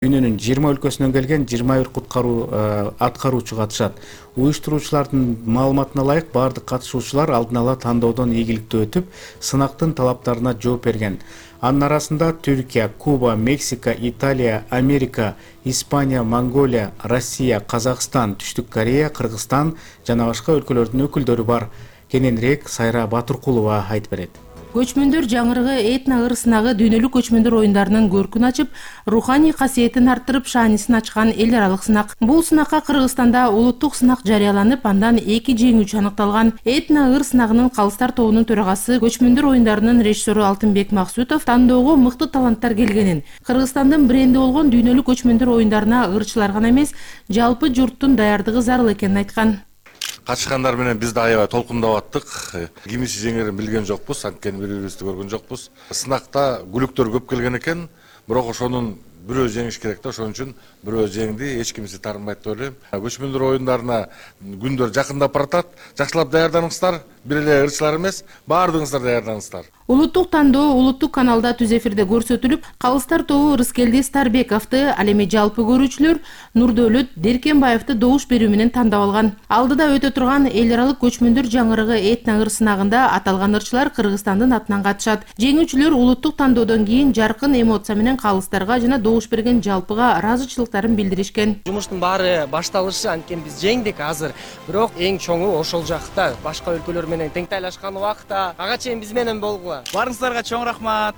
Дүйнөнүн 20 өлкөсүнөн келген 21 аткаруучу катышат. Уюштуруучулардын маалыматына ылайык бардык катышуучулар алдын ала тандоодон ийгиликтүү өтүп, сынактын талаптарына жооп берген. Анын арасында Түркия, Куба, Мексика, Италия, Америка, Испания, Монголия, Россия, Казакстан, Түштүк Корея, Кыргызстан жана башка өлкөлөрдүн өкүлдөрү бар. Кененирээк Сайра Батыркулова айтып берет. Көчмөндөр жаңырыгы этно-ыр сынагы дүйнөлүк көчмөндөр оюндарынын көркүн ачып, руханий касиетин арттырып, шаанисин ачкан эл аралык сынак. Бул сынакка Кыргызстанда улуттук сынак жарыяланып, андан 2 жеңүүчү аныкталган. Этно-ыр сынагынын Калыстар тобунун төрагасы, көчмөндөр оюндарынын режиссеру Алтынбек Максутов тандоого мыкты таланттар келгенин, Кыргызстандын бренди болгон дүйнөлүк көчмөндөр оюндарына ырчылар гана эмес, жалпы журттун даярдыгы зарыл экенин айткан. Катышкандар менен биз да аябай толкундап аттык. Кимиси жеңерин билген жокпуз, анткени бири-бирибизди көргөн жокпуз. Сынакта күлүктөр көп келген экен, бирок ошонун бирөө жеңиш керек да, ошон үчүн бирөө жеңди, эч кимиси таарынбайт деп ойлойм. Көчмөндөр оюндарына күндөр жакындап баратат. Жакшылап даярданыңыздар, бир эле ырчылар эмес, баардыгыңыздар даярданыңыздар. Улуттук тандоо улуттук каналда түз эфирде көрсөтүлүп, Калыстар тобу Рыскелди Старбековду, ал эми жалпы көрүүчүлөр Нурдөөлөт Деркенбаевди добуш берүү менен тандап алган. Алдыда өтө турган эл аралык көчмөндөр жаңырыгы этно-ыр сынагында аталган ырчылар Кыргызстандын атынан катышат. Жеңүүчүлөр улуттук тандоодон кийин жаркын эмоция менен калыстарга жана добуш берген жалпыга ыраазычылыктарын билдиришкен. Жумуштун баары башталышы, анткени биз жеңдик азыр. Бирок эң чоңу ошол жакта, башка өлкөлөр менен теңтайлашкан убакта ага чейин биз менен болгула. Барыңыздарга чоң рахмат.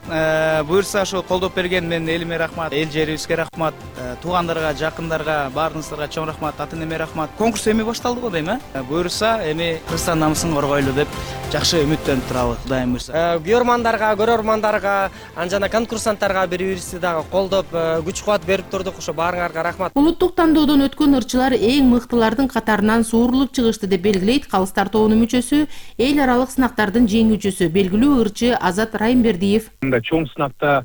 Буюрса ошо колдоп берген менин элиме рахмат, эл жерибизге рахмат, туугандарга, жакындарга, баарыңыздарга чоң рахмат, ата энеме рахмат. Конкурс эми башталды го дейм, Буюрса эми Кыргызстан намысын коргойлу деп жакшы үмүттөнүп турабыз, Кудайым буюрса. Күйөрмандарга, көрөрмандарга, жана конкурсанттарга бири-бирибизди дагы колдоп, күч-кубат берип турдук. Ошо баарыңарга рахмат. Улуттук тандоодон өткөн ырчылар эң мыктылардын катарынан суурулуп чыгышты деп белгилейт Калыстар тобунун мүчөсү, эл аралык сынактардын жеңүүчүсү, белгилүү ырчы Азат Райымбердиев. Мындай чоң сынакта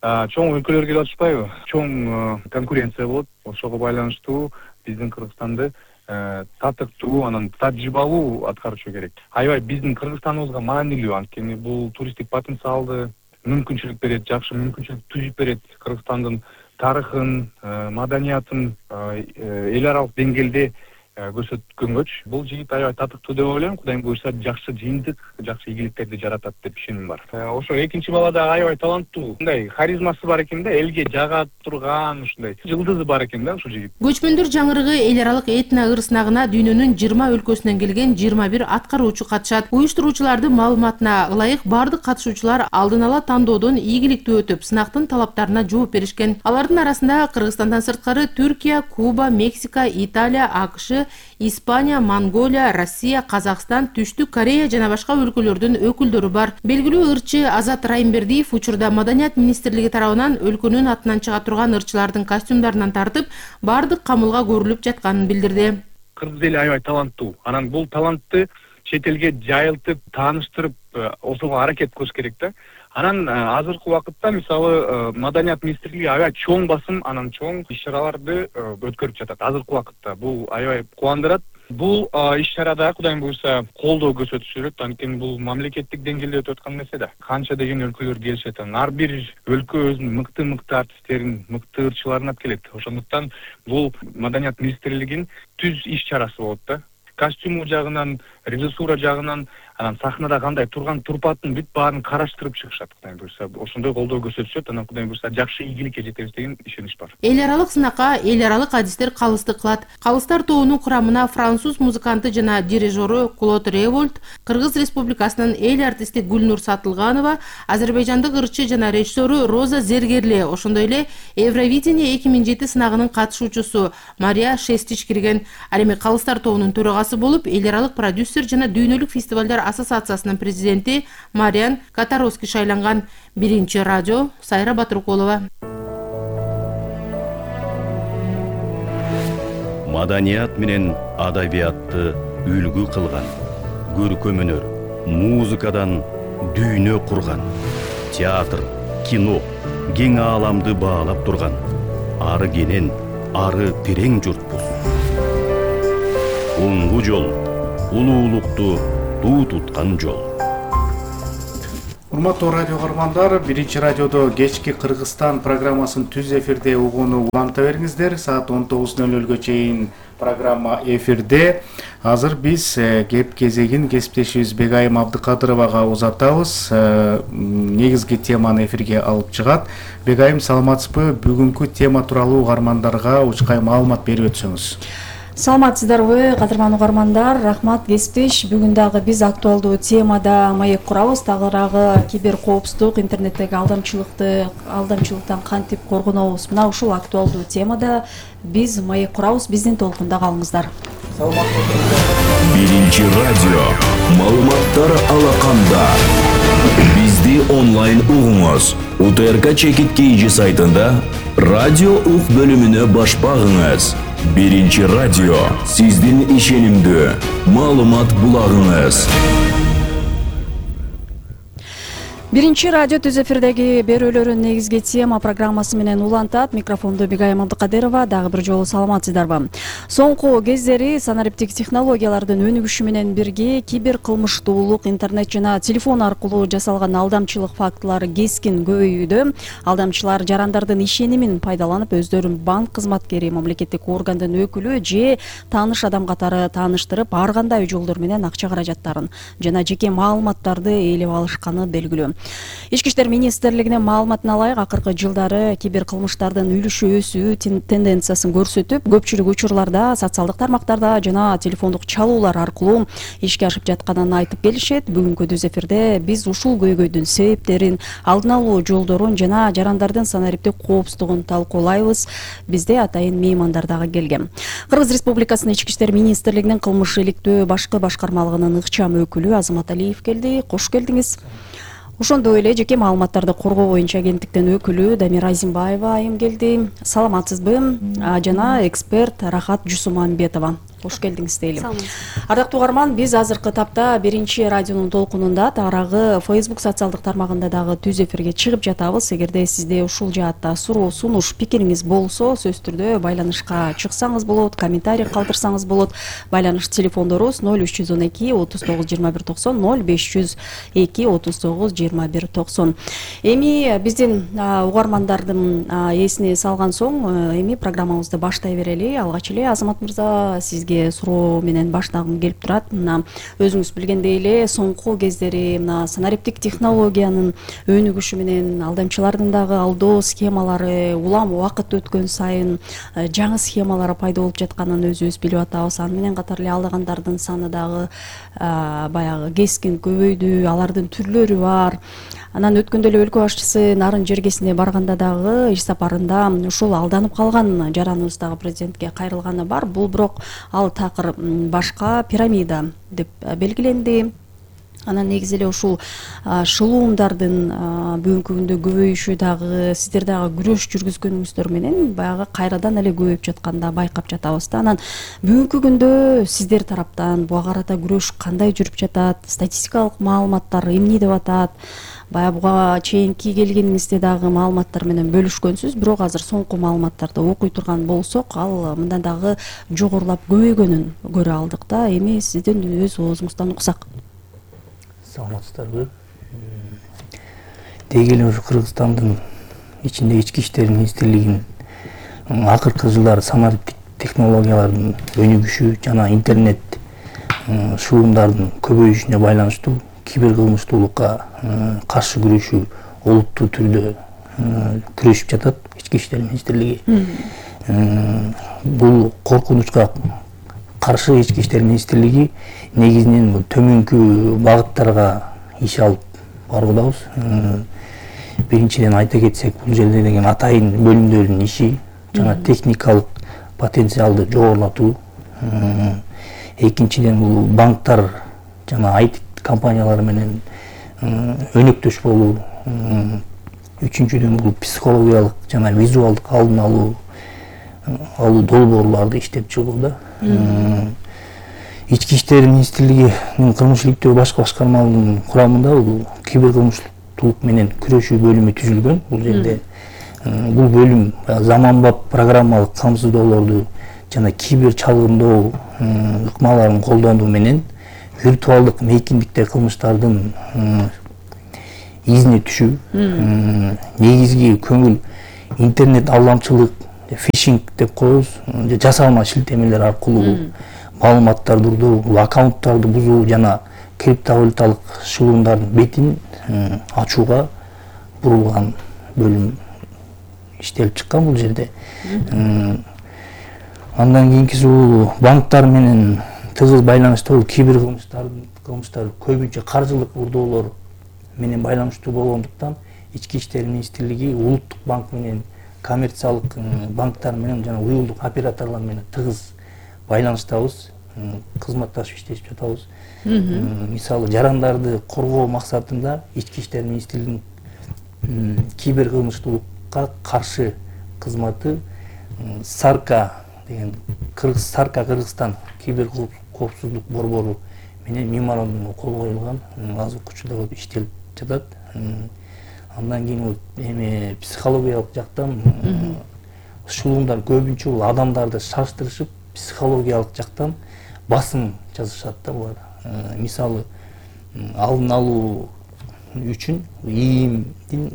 чоң өлкөлөр келип атышпайбы? Чоң конкуренция болот. Ошого байланыштуу биздин Кыргызстанды татыктуу, анан тажрыйбалуу аткаруучу керек. Аябай биздин Кыргызстаныбызга маанилүү, анткени бул туристтик потенциалды мүмкүнчүлүк берет, жакшы мүмкүнчүлүк түзүп берет. Кыргызстандын тарыхын, маданиятын эл аралык деңгээлде көрсөткөнгөчү бул жигит аябай татыктуу деп ойлойм. Кудайым буюрса жакшы жыйынтык, жакшы ийгиликтерди жаратат деп ишеним бар. Ошо экинчи бала да аябай таланттуу, мындай харизмасы бар экен да, элге жага турган ушундай жылдызы бар экен да ушул жигит. Көчмөндөр жаңырыгы эл аралык этно-ыр сынагына дүйнөнүн 20 өлкөсүнөн келген 21 аткаруучу катышат. Уюштуруучулардын маалыматына ылайык бардык катышуучулар алдын ала тандоодон ийгиликтүү өтүп, сынактын талаптарына жооп беришкен. Алардын арасында Кыргызстандан сырткары Түркия, Куба, Мексика, Италия, АКШ, Испания, Монголия, Россия, Казакстан, Түштүк Корея жана башка өлкөлөрдүн өкүлдөрү бар. Белгилүү ырчы Азат Райымбердиев учурда Маданият министрлиги тарабынан өлкөнүн атынан чыга турган ырчылардын костюмдарынан тартып, бардык камылга көрүлүп жатканын билдирди. Кыргыз эли аябай таланттуу. Анан бул талантты чет элге жайылтып, тааныштырып, ошого аракет кылыш керек да. Анан азыркы убакытта мисалы Маданият министрлиги аябай чоң басым, анан чоң иш-чараларды өткөрүп жатат. Азыркы убакытта бул аябай кубандырат. Бул иш-чарада Кудайым буюрса колдоо көрсөтүшүрөт, анткени бул мамлекеттик деңгээлде өтүп аткан нерсе да. Канча деген өлкөлөр келишет, ар бир өлкө өзүнүн мыкты артисттерин, мыкты ырчыларын алып келет. Ошондуктан бул Маданият министрлигинин түз иш-чарасы болот да. Костюму жагынан, режиссура жагынан, анан сахнада кандай турган турпатын бүт баарын караштырып чыгышат. Кудайым буюрса ошондой колдоо көрсөтүшөт, анан Кудайым буюрса жакшы ийгиликке жетебиз деген ишенич бар. Эл аралык сынакка эл аралык адистер калыстык кылат. Калыстар тобунун курамына француз музыканты жана дирижеру Клод Револьт, Кыргыз Республикасынын эл артисти Гүлнур Сатылганова, азербайжандык ырчы жана режиссеру Роза Зергерле, ошондой эле Евровидение 2007 сынагынын катышуучусу Мария Шестич кирген. Ал эми Калыстар тобунун төрагасы болуп, эл аралык продюсер жана дүйнөлүк фестивалдар ассоциациясынын президенти Мариан Катаровский шайланган. Биринчи радио, Сайра Батыркулова. Маданият менен адабиятты үлгү кылган, көркөм өнөр, музыкадан дүйнө курган, театр, кино, кең ааламды баалап турган, ары кенен, ары терең журтпуз. Оңгу жол, улуулукту туу туткан жол. Урматтуу радио көрөрмандар, биринчи радиодо кечки Кыргызстан программасын түз эфирде угууну уланта бериңиздер. Саат 19:00 чейин программа эфирде. Азыр биз кеп кезегин кесиптешибиз Бегайым Абдыкадыровага узатабыз. Негизги теманы эфирге алып чыгат. Бегайым, саламатсызбы? Бүгүнкү тема тууралуу угармандарга учкай маалымат берип өтсөңүз. Саламатсыздарбы, кадырман угармандар, рахмат кесиптеш. Бүгүн дагы биз актуалдуу темада маек курабыз. Тагыраагы кибер коопсуздук, интернеттеги алдамчылыктан кантип коргонобуз. Мына ушул актуалдуу темада биз маек курабыз. Биздин толкунда калыңыздар. Биринчи радио маалыматтар алаканда. Бизди онлайн угуңуз. УТРК Чекит KG сайтында радио ук бөлүмүнө баш багыңыз. Биринчи радио сиздин ишенимдүү маалымат булагыңыз. Биринчи радио түз эфирдеги берүүлөрүн негизги тема программасы менен улантат. Микрофонду Бегайым Абдыкадырова. Дагы бир жолу саламатсыздарбы? Соңку кездери санариптик технологиялардын өнүгүшү менен бирге кибер кылмыштуулук, интернет жана телефон аркылуу жасалган алдамчылык фактылары кескин көбөйүүдө. Алдамчылар жарандардын ишенимин пайдаланып, өздөрүн банк кызматкери, мамлекеттик органдын өкүлү же тааныш адам катары тааныштырып, ар кандай жолдор менен акча каражаттарын жана жеке маалыматтарды ээлеп алышканы белгилүү. Ички иштер министрлигинин маалыматына ылайык, акыркы жылдары кибер кылмыштардын үлүшү өсүү тенденциясын көрсөтүп, көпчүлүк учурларда социалдык тармактарда жана телефондук чалуулар аркылуу ишке ашып жатканын айтып келишет. Бүгүнкү түз эфирде биз ушул көйгөйдүн себептерин, алдын алуу жолдорун жана жарандардын санариптик коопсуздугун талкуулайбыз. Бизде атайын меймандар дагы келген. Кыргыз Республикасынын Ички иштер министрлигинин кылмыш иликтөө башкы башкармалыгынын ыкчам өкүлү Азамат Алиев келди. Кош келдиңиз. Ошондой эле жеке маалыматтарды коргоо боюнча агенттиктин өкүлү Дамира Азимбаева айым келди. Саламатсызбы? Жана эксперт Рахат Жусумамбетова. Кош келдиңиз дейли. Ардактуу угарман, биз азыркы тапта биринчи радионун толкунунда, тагыраагы Facebook социалдык тармагында дагы түз эфирге чыгып жатабыз. Эгерде сизде ушул жаатта суроо, сунуш, пикириңиз болсо, сөзсүз түрдө байланышка чыксаңыз болот, комментарий калтырсаңыз болот. Байланыш телефондорубуз 0312 39 21 90, 0502 39 21 90. Эми биздин угармандардын эсине салган соң, эми программабызды баштай берели. Алгач эле Азамат мырза, сизге суроо менен баштагым келип турат. Мына өзүңүз билгендей эле соңку кездери мына санариптик технологиянын өнүгүшү менен алдамчылардын дагы алдоо схемалары улам убакыт өткөн сайын жаңы схемалары пайда болуп жатканын өзүбүз билип атабыз. Аны менен катар эле алдагандардын саны дагы баягы кескин көбөйдү, алардын түрлөрү бар. Анан өткөндө эле өлкө башчысы Нарын жергесине барганда дагы иш сапарында ушул алданып калган жараныбыз дагы президентке кайрылганы бар. Бул бирок ал такыр башка пирамида деп белгиленди. Анан негизи эле ушул шылуумдардын бүгүнкү күндө көбөйүшү дагы сиздер дагы күрөш жүргүзгөнүңүздөр менен баягы кайрадан эле көбөйүп жатканда байкап жатабыз да. Анан бүгүнкү күндө сиздер тараптан буга карата күрөш кандай жүрүп жатат? Статистикалык маалыматтар эмне деп атат? Баягы буга чейинки келгениңизде дагы маалыматтар менен бөлүшкөнсүз, бирок азыр соңку маалыматтарды окуй турган болсок, ал мындан дагы жогорулап көбөйгөнүн көрө алдык да. Эми сиздин өз оозуңуздан уксак. Саламатсыздарбы? Деги эле ушу Кыргызстандын ичинде ички иштер министрлигинин акыркы жылдары санариптик технологиялардын өнүгүшү жана интернет шылуумдардын көбөйүшүнө байланыштуу кибер кылмыштуулукка каршы күрөшүү олуттуу түрдө күрөшүп жатат ички иштер министрлиги. Бул коркунучка каршы ички иштер министрлиги негизинен төмөнкү багыттарга иш алып баруудабыз. Биринчиден айта кетсек, бул жерде деген атайын бөлүмдөрдүн иши жана техникалык потенциалды жогорулатуу. Экинчиден бул банктар жана IT компаниялар менен өнөктөш болуу. Үчүнчүдөн бул психологиялык жана визуалдык алдын алуу долбоорларды иштеп чыгуу да. Ички иштер министрлигинин кылмыш иликтөө башкы башкармалыгынын курамында бул кибер кылмыштуулук менен күрөшүү бөлүмү түзүлгөн. Бул жерде бул бөлүм заманбап программалык камсыздоолорду жана кибер чалгындоо ыкмаларын колдонуу менен виртуалдык мейкиндикте кылмыштардын изине түшүү, негизги көңүл интернет алдамчылык, фишинг деп коебуз, жасалма шилтемелер аркылуу маалыматтарды урдоо, аккаунттарды бузуу жана криптовалюталык шылуумдардын бетин ачууга бурулган бөлүм иштелип чыккан бул жерде. Андан кийинкиси бул банктар менен тыгыз байланыштуу кибер кылмыштар көбүнчө каржылык урдоолор менен байланыштуу болгондуктан Ички иштер министрлиги улуттук банк менен коммерциялык банктар менен жана уюлдук операторлор менен тыгыз байланыштабыз, кызматташып иштешип жатабыз. Мисалы жарандарды коргоо максатында Ички иштер министрлигинин кибер кылмыштуулукка каршы кызматы Сарка деген Сарка Кыргызстан кибер коопсуздук борбору менен меморандумга кол коюлган, азыркы учурда иштелип жатат. Андан кийин эми психологиялык жактан шылуумдар көбүнчө бул адамдарды шаштырышып, психологиялык жактан басым жазышат да булар. Мисалы алдын алуу үчүн ИИМдин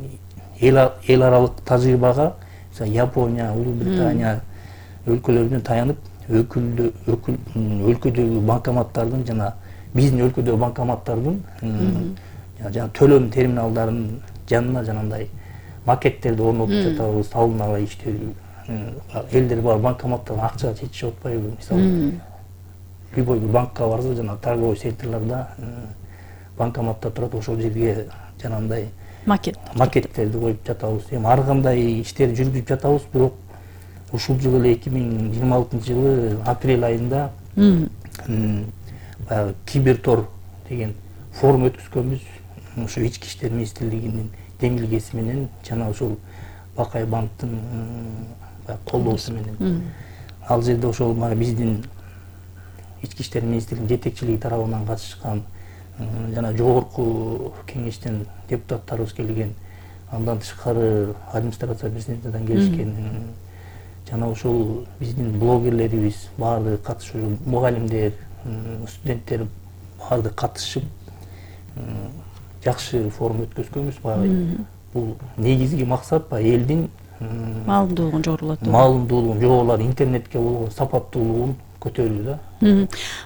эл аралык тажрыйбага Япония, Улуу Британия өлкөлөрүнөн таянып, өлкөдөгү банкоматтардын жана биздин өлкөдөгү банкоматтардын жана төлөм терминалдарынын жанына жанагындай макеттерди орнотуп жатабыз, алдын ала иштөө. Элдер бар банкоматтан акча чечишип атпайбы? Мисалы любой бир банкка барса, жана торговый секторлордо банкоматта турат, ошол жерге жанагындай макеттерди коюп жатабыз. Эми ар кандай иштерди жүргүзүп жатабыз, бирок ушул жылы эле 2026-жылы апрель айында баягы Кибертор деген форум өткүзгөнбүз. Ошо Ички иштер министрлигинин демилгеси менен жана ошол Бакай банктын колдоосу менен. Ал жерде ошол биздин Ички иштер министрлигинин жетекчилиги тарабынан катышкан жана жогорку кеңештен депутаттарыбыз келген, андан тышкары администрация президентидан келишкен, жана ошол биздин блогерлерибиз баардыгы катышып, мугалимдер, студенттер баардыгы катышып жакшы форум өткөзгөнбүз. Бул негизги максат элдин маалымдуулугун жогорулатуу. Маалымдуулугун жогорулар, интернетке болгон сапаттуулугун көтөрүү да.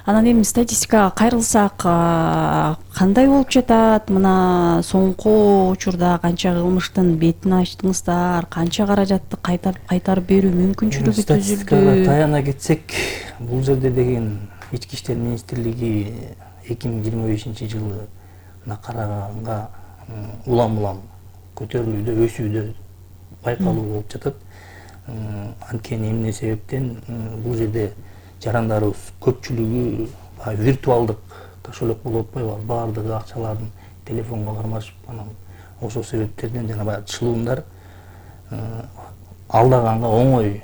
Анан эми статистикага кайрылсак, кандай болуп жатат? Мына соңку учурда канча кылмыштын бетин ачтыңыздар, канча каражатты кайтарып берүү мүмкүнчүлүгү түзүлдү? Статистикага таяна кетсек, бул жерде деген Ички иштер министрлиги 2025-жылы караганга улам көтөрүлүүдө, өсүүдө байкалуу болуп жатат. Анткени эмне себептен бул жерде жарандарыбыз көпчүлүгү виртуалдык кошелек болуп атпайбы? Баардыгы акчаларын телефонго кармашып, анан ошол себептерден жана баягы чылуумдар алдаганга оңой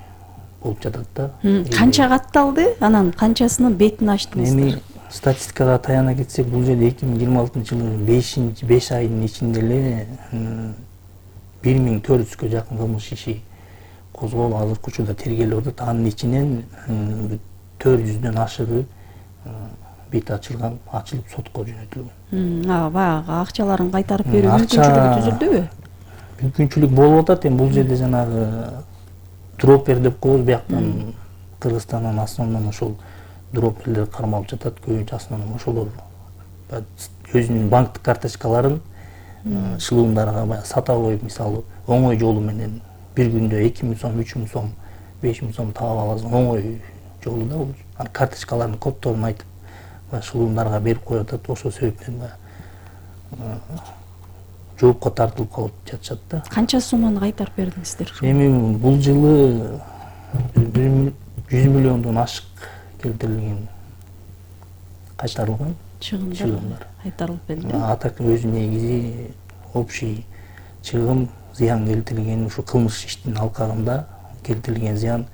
болуп жатат да. Канча катталды? Анан канчасынын бетин ачтыңыздар? Эми статистикага таяна кетсек, бул жерде 2026-жылдын 5 айынын ичинде эле 1400гө жакын кылмыш иши козголуп, азыркы учурда тергелип атат. Анын ичинен 400дөн ашыгы бет ачылып сотко жөнөтүлгөн. Баягы акчаларын кайтарып берүү мүмкүнчүлүгү түзүлдүбү? Мүмкүнчүлүк болуп атат. Эми бул жерде жанагы дропер деп коебуз, бияктан Кыргызстандан основном ошол дроперлер кармалып жатат. Көбүнчө основном ошолор өзүнүн банктык карточкаларын шылуумдарга баягы сата коюп, мисалы оңой жолу менен бир күндө 2000 сом, 3000 сом, 5000 сом таап аласың, оңой жолу да бул. Анын карточкаларынын коддорун айтып, шылуумдарга берип коюп атат. Ошол себептен жоопко тартылып калып жатышат да. Канча соманы кайтарып бердиңиздер? Эми бул жылы 100 миллиондон ашык келтирилген кайтарылган чыгымдар кайтарылып берилди. Атак өзү негизи общий чыгым, зыян келтирилген ушу кылмыш иштин алкагында келтирилген зыян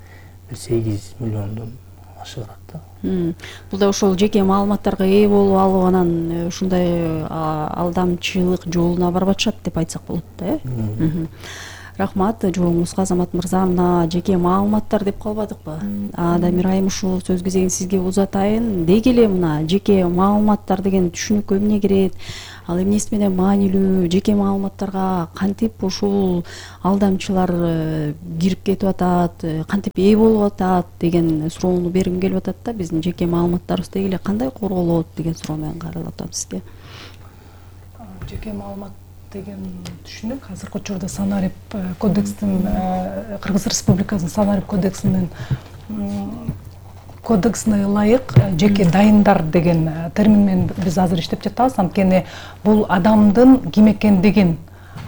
8 миллиондон ашыгат да. Бул да ошол жеке маалыматтарга ээ болуп алып, анан ушундай алдамчылык жолуна барбатышат деп айтсак болот да, э? Рахмат жооңузга, Азамат мырза. Мына жеке маалыматтар деп калбадыкпы? Дамир айым, ушул сөз кезегин сизге узатайын. Деги эле мына жеке маалыматтар деген түшүнүккө эмне кирет? Ал эмнеси менен маанилүү, жеке маалыматтарга кантип ушул алдамчылар кирип кетип атат, кантип ээ болуп атат деген суроону бергим келип атат да. Биздин жеке маалыматтарыбыз деги эле кандай корголот деген суроо менен каралып атам сизге. Жеке маалымат деген түшүнүк азыркы учурда санарип кодекстин, Кыргыз Республикасынын санарип кодексине ылайык жеке дайындар деген термин менен биз азыр иштеп жатабыз. Анткени бул адамдын ким экендигин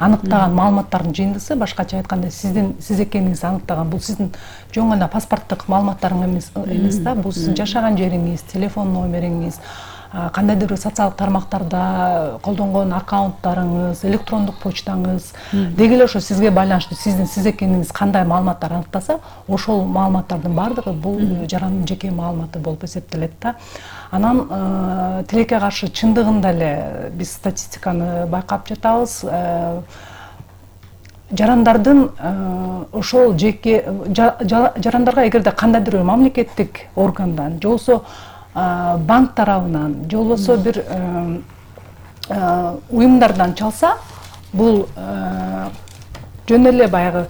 аныктаган маалыматтардын жыйындысы, башкача айтканда сиз экениңизди аныктаган. Бул сиздин жөн гана паспорттук маалыматтарыңыз эмес да, бул сиздин жашаган жериңиз, телефон номериңиз, кандайдыр бир социалдык тармактарда колдонгон аккаунттарыңыз, электрондук почтаңыз деги эле ошо сизге байланыштуу сиз экениңиз кандай маалыматтар аныктаса, ошол маалыматтардын баардыгы бул жарандын жеке маалыматы болуп эсептелет да. Анан тилекке каршы чындыгында эле биз статистиканы байкап жатабыз. Жарандардын ошол жеке жарандарга эгерде кандайдыр бир мамлекеттик органдан, же болбосо банк тарабынан, же болбосо бир уюмдардан чалса, бул жөн эле баягы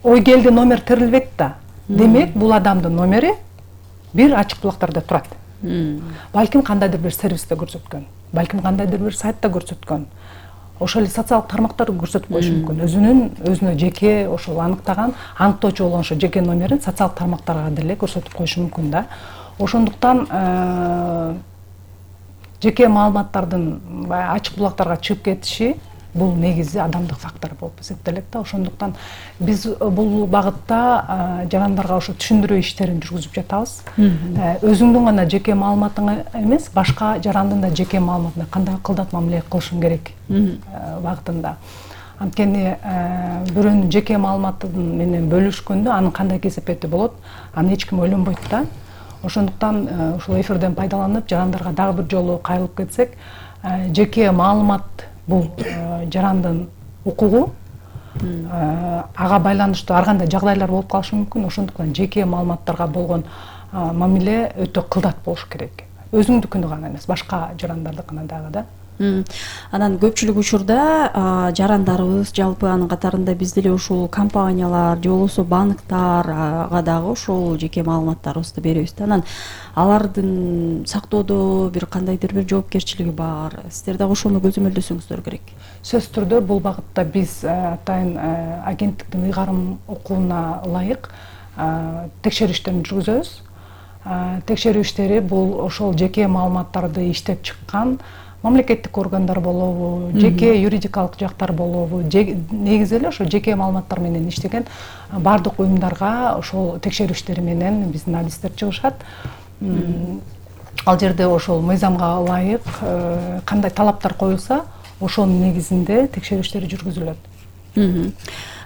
ой келди номер терилбейт да. Демек, бул адамдын номери бир ачык булактарда турат. Балким кандайдыр бир сервисте көрсөткөн, балким кандайдыр бир сайтта көрсөткөн. Ошол эле социалдык тармактар көрсөтүп коюшу мүмкүн. Өзүнө жеке ошол аныктаган, аныктоочу болгон ошо жеке номерин социалдык тармактарга деле көрсөтүп коюшу мүмкүн да. Ошондуктан жеке маалыматтардын ачык булактарга чыгып кетиши бул негизи адамдык фактор болуп эсептелет да. Ошондуктан биз бул багытта жарандарга ошо түшүндүрүү иштерин жүргүзүп жатабыз. Өзүңдүн гана жеке маалыматыңа эмес, башка жарандын да жеке маалыматына кандай кылдат мамиле кылышың керек багытында. Анткени бирөөнүн жеке маалыматы менен бөлүшкөндө анын кандай кесепети болот, аны эч ким ойлонбойт да. Ошондуктан ушул эфирден пайдаланып жарандарга дагы бир жолу кайрылып кетсек, жеке маалымат бул жарандын укугу, ага байланыштуу ар кандай жагдайлар болуп калышы мүмкүн. Ошондуктан жеке маалыматтарга болгон мамиле өтө кылдат болуш керек. Өзүңдүкүнү гана эмес, башка жарандардыкына дагы да. Анан көпчүлүк учурда жарандарыбыз, жалпы анын катарында биз деле ушул компаниялар, же болбосо банктарга дагы ушул жеке маалыматтарыбызды беребиз да. Анан алардын сактоодо бир кандайдыр бир жоопкерчилиги бар. Сиздер дагы ошону көзөмөлдөсөңүздөр керек. Сөзсүз түрдө бул багытта биз атайын агенттиктин ыйгарым укугуна ылайык текшерүү иштерин жүргүзөбүз. Текшерүү иштери бул ошол жеке маалыматтарды иштеп чыккан мамлекеттик органдар болобу, жеке юридикалык жактар болобу, негизи эле ошо жеке маалыматтар менен иштеген бардык уюмдарга ошол текшерүү иштери менен биздин адистер чыгышат. Ал жерде ошол мыйзамга ылайык кандай талаптар коюлса, ошонун негизинде текшерүү иштери жүргүзүлөт.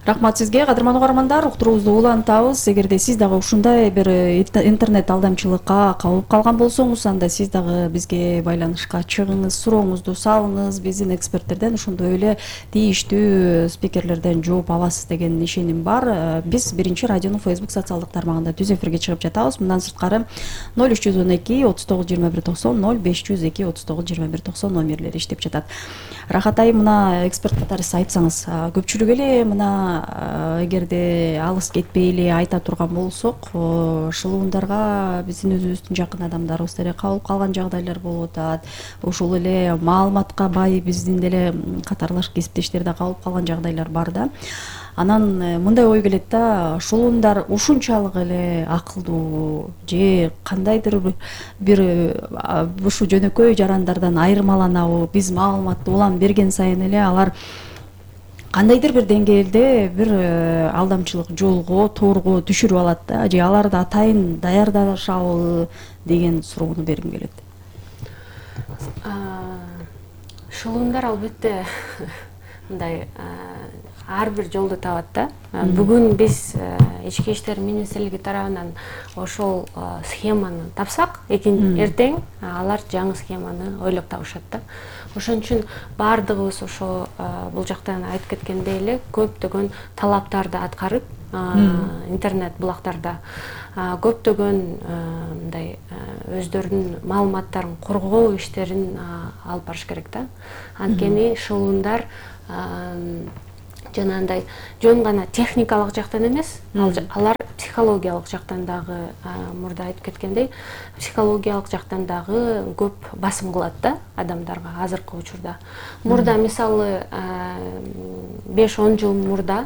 Рахмат сизге, кадырман угармандар, уктуруубузду улантабыз. Эгерде сиз дагы ушундай бир интернет алдамчылыкка кабылып калган болсоңуз, анда сиз дагы бизге байланышка чыгыңыз, сурооңузду салыңыз. Биздин эксперттерден ошондой эле тийиштүү спикерлерден жооп аласыз деген ишеним бар. Биз Биринчи радионун Facebook социалдык тармагында түз эфирге чыгып жатабыз. Мындан сырткары 0312 39 21 90 0502 39 21 90 номерлери иштеп жатат. Рахат айым, мына эксперт катары сиз айтсаңыз, көпчүлүк эле мына эгерде алыс кетпей эле айта турган болсок, шылуундарга биздин өзүбүздүн жакын адамдарыбыз деле кабылып калган жагдайлар болуп атат. Ушул эле маалыматка бай биздин деле катарлаш кесиптештер да кабылып калган жагдайлар бар да. Анан мындай ой келет да, шулуундар ушунчалык эле акылдуу же кандайдыр бир ушу жөнөкөй жарандардан айырмаланабы? Биз маалыматты улам берген сайын эле алар кандайдыр бир деңгээлде бир алдамчылык жолго, тоорго түшүрүп алат да, же аларды атайын даярдашабы деген суроону бергим келет. Шылуундар албетте мындай ар бир жолду табат да. Бүгүн биз ички иштер министрлиги тарабынан ошол схеманы тапсак, эртең алар жаңы схеманы ойлоп табышат да. Ошон үчүн баардыгыбыз ошо бул жактан айтып кеткендей эле көптөгөн талаптарды аткарып, интернет булактарда көптөгөн мындай өздөрүнүн маалыматтарын коргоо иштерин алып барыш керек да. Анткени шылуундар жанагындай жөн гана техникалык жактан эмес, алар психологиялык жактан дагы мурда айтып кеткендей, психологиялык жактан дагы көп басым кылат да адамдарга азыркы учурда. Мурда мисалы 5-10 жыл мурда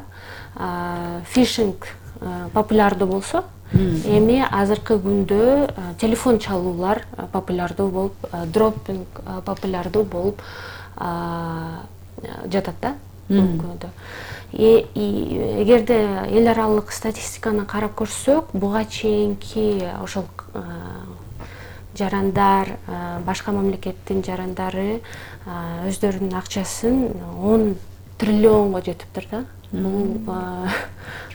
фишинг популярдуу болсо, эми азыркы күндө телефон чалуулар популярдуу болуп, дроппинг популярдуу болуп жатат да. Эгерде эл аралык статистиканы карап көрсөк, буга чейинки ошол жарандар, башка мамлекеттин жарандары өздөрүнүн акчасын 10 триллионго жетиптир да.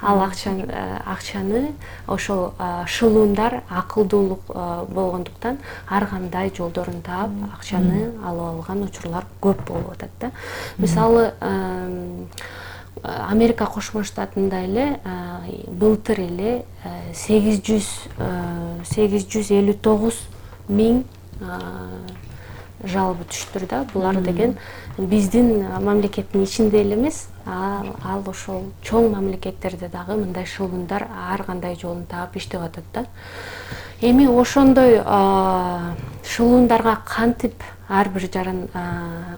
Ал акчаны ошол шылуундар акылдуулук болгондуктан ар кандай жолдорун таап акчаны алып алган учурлар көп болуп атат да. Мисалы Америка Кошмо Штатында эле былтыр эле 859 миң жалобы түштүр да. Булар деген биздин мамлекеттин ичинде эле эмес, ал ошол чоң мамлекеттерде дагы мындай шылуундар ар кандай жолун таап иштеп атат да. Эми ошондой шылуундарга кантип ар бир жаран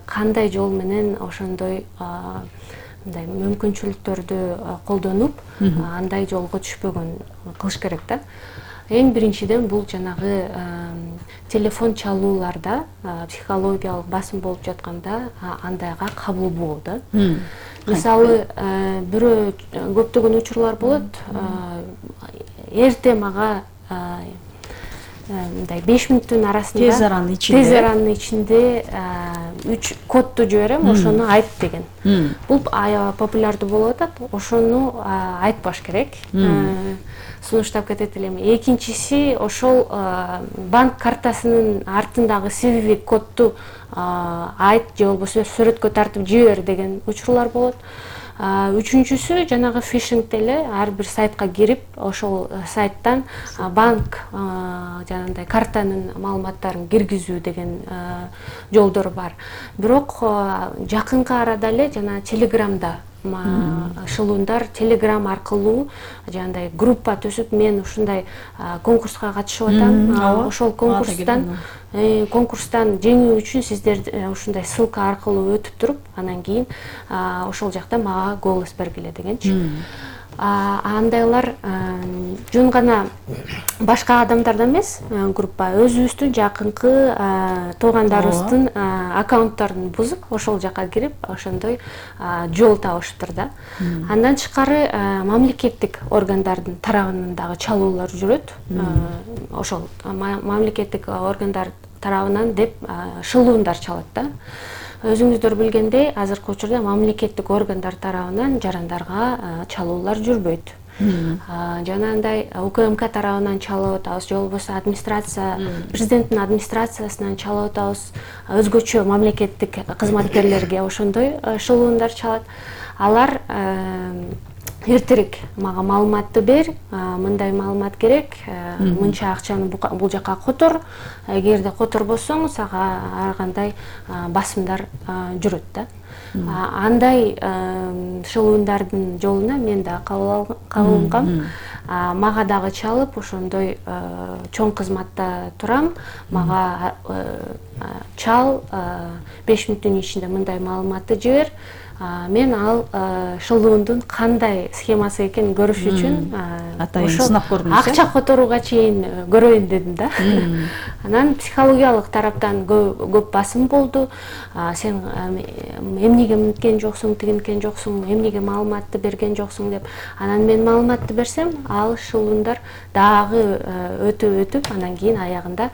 кандай жол менен ошондой мындай мүмкүнчүлүктөрдү колдонуп андай жолго түшпөгөн кылыш керек да. Эң биринчиден бул жанагы телефон чалууларда психологиялык басым болуп жатканда андайга кабыл болуу да. Мисалы бирөө көптөгөн учурлар болот. Эрте мага мындай 5 мүнөттүн арасында тез аранын ичинде 3 кодду жиберем, ошону айт деген. Бул аябай популярдуу болуп атат. Ошону айтпаш керек. Сунуштап кетет элем. Экинчиси ошол банк картасынын артындагы CVV кодду айт же болбосо сүрөткө тартып жибер деген учурлар болот. Үчүнчүсү жанагы фишингде эле ар бир сайтка кирип, ошол сайттан банк жанагындай картанын маалыматтарын киргизүү деген жолдор бар. Бирок жакынкы арада эле жана Телеграмда шылуундар Телеграм аркылуу жанагындай группа түзүп, мен ушундай конкурска катышып атам. Ошол конкурстан жеңүү үчүн сиздер ушундай ссылка аркылуу өтүп туруп, анан кийин ошол жакта мага голос бергиле дегенчи. Андайлар жөн гана башка адамдардан эмес, группа өзүбүздүн жакынкы туугандарыбыздын аккаунттарын бузуп, ошол жака кирип, ошондой жол табышыптыр да. Андан тышкары мамлекеттик органдардын тарабынан дагы чалуулар жүрөт. Ошол мамлекеттик органдар тарабынан деп шылуундар чалат да. Өзүңүздөр билгендей, азыркы учурда мамлекеттик органдар тарабынан жарандарга чалуулар жүрбөйт. Жанагындай УКМК тарабынан чалып атабыз, же болбосо администрация, президенттин администрациясынан чалып атабыз, өзгөчө мамлекеттик кызматкерлерге ошондой шылуундар чалат. Алар эртерээк мага маалыматты бер, мындай маалымат керек, мынча акчаны бул жака котор, эгерде которбосоң сага ар кандай басымдар жүрөт да. Андай шылуундардын жолуна мен да кабыл алынгам. Мага дагы чалып, ошондой чоң кызматта турам, мага чал 5 мүнөттүн ичинде мындай маалыматты жибер. Мен ал шылуундун кандай схемасы экенин көрүш үчүн акча которууга чейин көрөйүн дедим да. Анан психологиялык тараптан көп басым болду. Сен эмнеге мынткен жоксуң, тигинткен жоксуң, эмнеге маалыматты берген жоксуң деп. Анан мен маалыматты берсем, ал шылуундар дагы өтүп, анан кийин аягында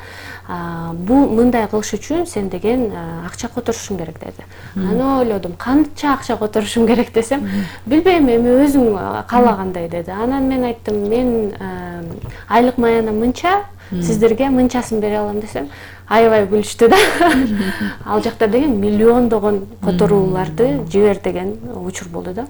бул мындай кылыш үчүн сен деген акча которушуң керек деди. Анан ойлодум, канча акча которушум керек десем, билбейм, эми өзүң каалагандай деди. Анан мен айттым, мен айлык маянам мынча, сиздерге мынчасын бере алам десем, аябай күлүштү да. Ал жакта деген миллиондогон которууларды жибер деген учур болду да.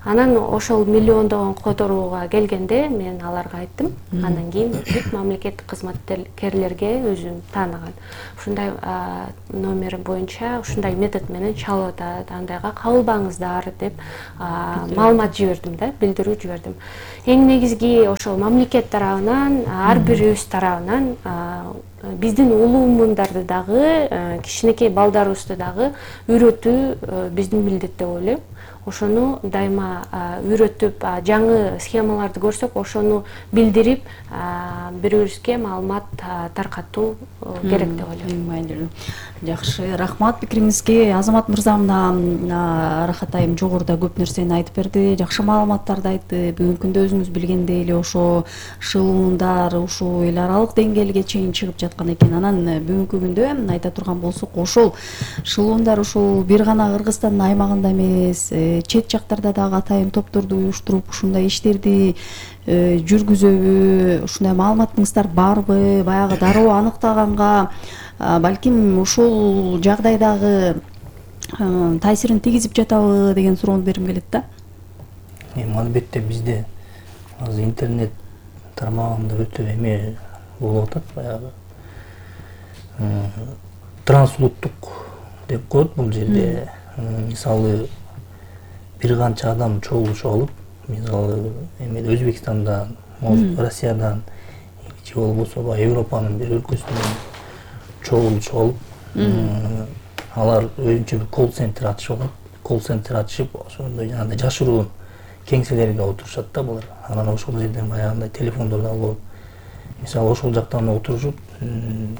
Анан ошол миллиондогон которууга келгенде мен аларга айттым. Андан кийин бүт мамлекеттик кызматкерлерге өзүм тааныган. Ушундай номер боюнча ушундай метод менен чалып атат, андайга кабылбаңыздар деп маалымат жибердим да, билдирүү жибердим. Эң негизги ошол мамлекет тарабынан, ар бирибиз тарабынан биздин улуумундарды дагы, кичинекей балдарыбызды дагы үйрөтүү биздин милдет деп ойлойм. Ошону дайыма үйрөтүп, жаңы схемаларды көрсөк, ошону билдирип, бири-бирибизге маалымат таркатуу керек деп ойлойм. Эң маанилүү. Жакшы, рахмат пикириңизге. Азамат мырза мына Рахат айым жогоруда көп нерсени айтып берди, жакшы маалыматтарды айтты. Бүгүнкү күндө өзүңүз билгендей эле ошо шылуундар ушул эл аралык деңгээлге чейин чыгып жаткан экен. Анан бүгүнкү күндө айта турган болсок, ошол шылуундар ушул бир гана Кыргызстандын аймагында эмес, чет жактарда дагы атайын топторду уюштуруп ушундай иштерди жүргүзөбү, ушундай маалыматыңыздар барбы? Баягы дароо аныктаганга балким ушул жагдайдагы таасирин тийгизип жатабы деген суроону бергим келет да. Албетте бизде азыр интернет тармагында өтө эме болуп атат, баягы трансулуттук деп коет бул жерде. Мисалы бир канча адам чогулуш алып, мисалы Өзбекстандан, Россиядан же болбосо Европанын бир өлкөсүнөн чогулуш алып, алар өзүнчө бир колл-центр ачып алат. Колл-центр ачып, ошондой жанагындай жашыруун кеңселерге отурушат да булар. Анан ошол жерден баягындай телефондорду алып, мисалы ошол жактан отурушуп,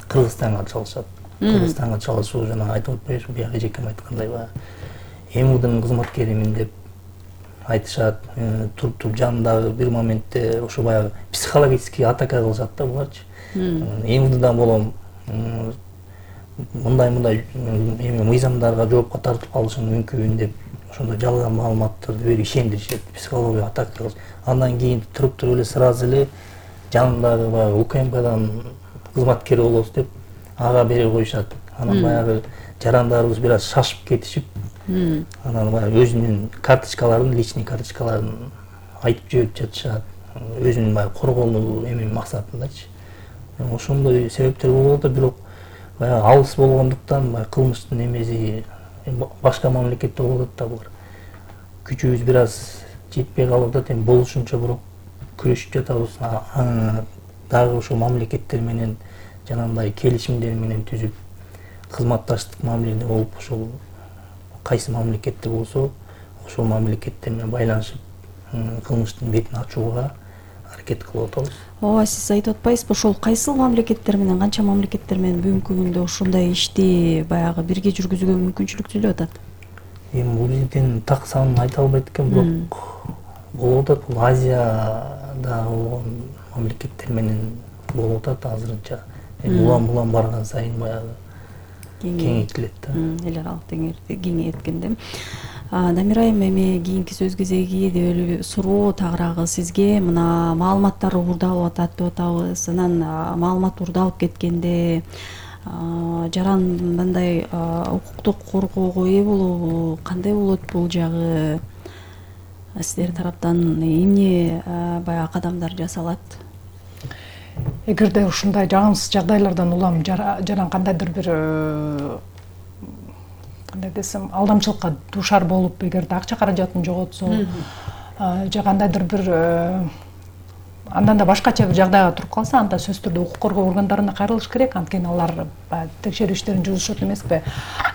Кыргызстанга чалышат. Кыргызстанга чалышуу жана айтып атпайбызбы, бияка эжекем айткандай баягы МУдун кызматкеримин деп айтышат, туруп жанындагы бир моментте ошо баягы психологический атака кылышат да буларчы. МУддан болом, мындай эми мыйзамдарга жоопко тартып калышы мүмкүн деп ошондой жалган маалыматтарды берип ишендиришет, психологиялык атака кылышат. Андан кийин туруп эле сразу эле жанындагы баягы УКМКдан кызматкери болобуз деп ага бере коюшат. Анан баягы жарандарыбыз бир аз шашып кетишип, анан баягы өзүнүн карточкаларын, личный карточкаларын айтып жиберип жатышат, өзүнүн баягы коргонуу эми максатындачы. Ошондой себептер болуп атат, бирок баягы алыс болгондуктан баягы кылмыштын эмеси башка мамлекетте болуп атат да булар. Күчүбүз бир аз жетпей калып атат, эми болушунча бирок күрөшүп жатабыз. Дагы ошол мамлекеттер менен жанагындай келишимдер менен түзүп, кызматташтык мамиледе болуп, ошол кайсы мамлекетте болсо, ошол мамлекеттер менен байланышып, кылмыштын бетин ачууга аракет кылып атабыз. Ооба, сиз айтып атпайсызбы, ошол кайсыл мамлекеттер менен, канча мамлекеттер менен бүгүнкү күндө ошондой ишти баягы бирге жүргүзүүгө мүмкүнчүлүк түзүлүп атат? Эми бул жерден так санын айта албайт экен, бирок болуп атат. Бул Азияда болгон мамлекеттер менен болуп атат азырынча. Улам барган сайын баягы кеңейтилет да. Эл аралык кеңейткенде. Дамир айым, эми кийинки сөз кезеги деп эле суроо тагыраагы сизге. Мына маалыматтар уурдалып атат деп атабыз. Анан маалымат уурдалып кеткенде жаран мындай укуктук коргоого ээ болобу? Кандай болот бул жагы? Сиздер тараптан эмне баягы кадамдар жасалат? Эгерде ушундай жагымсыз жагдайлардан улам жаран кандайдыр бир кандай десем алдамчылыкка дуушар болуп, эгерде акча каражатын жоготсо же кандайдыр бир андан да башкача бир жагдайга туруп калса, анда сөзсүз түрдө укук коргоо органдарына кайрылыш керек. Анткени алар текшерүү иштерин жүргүзүшөт эмеспи.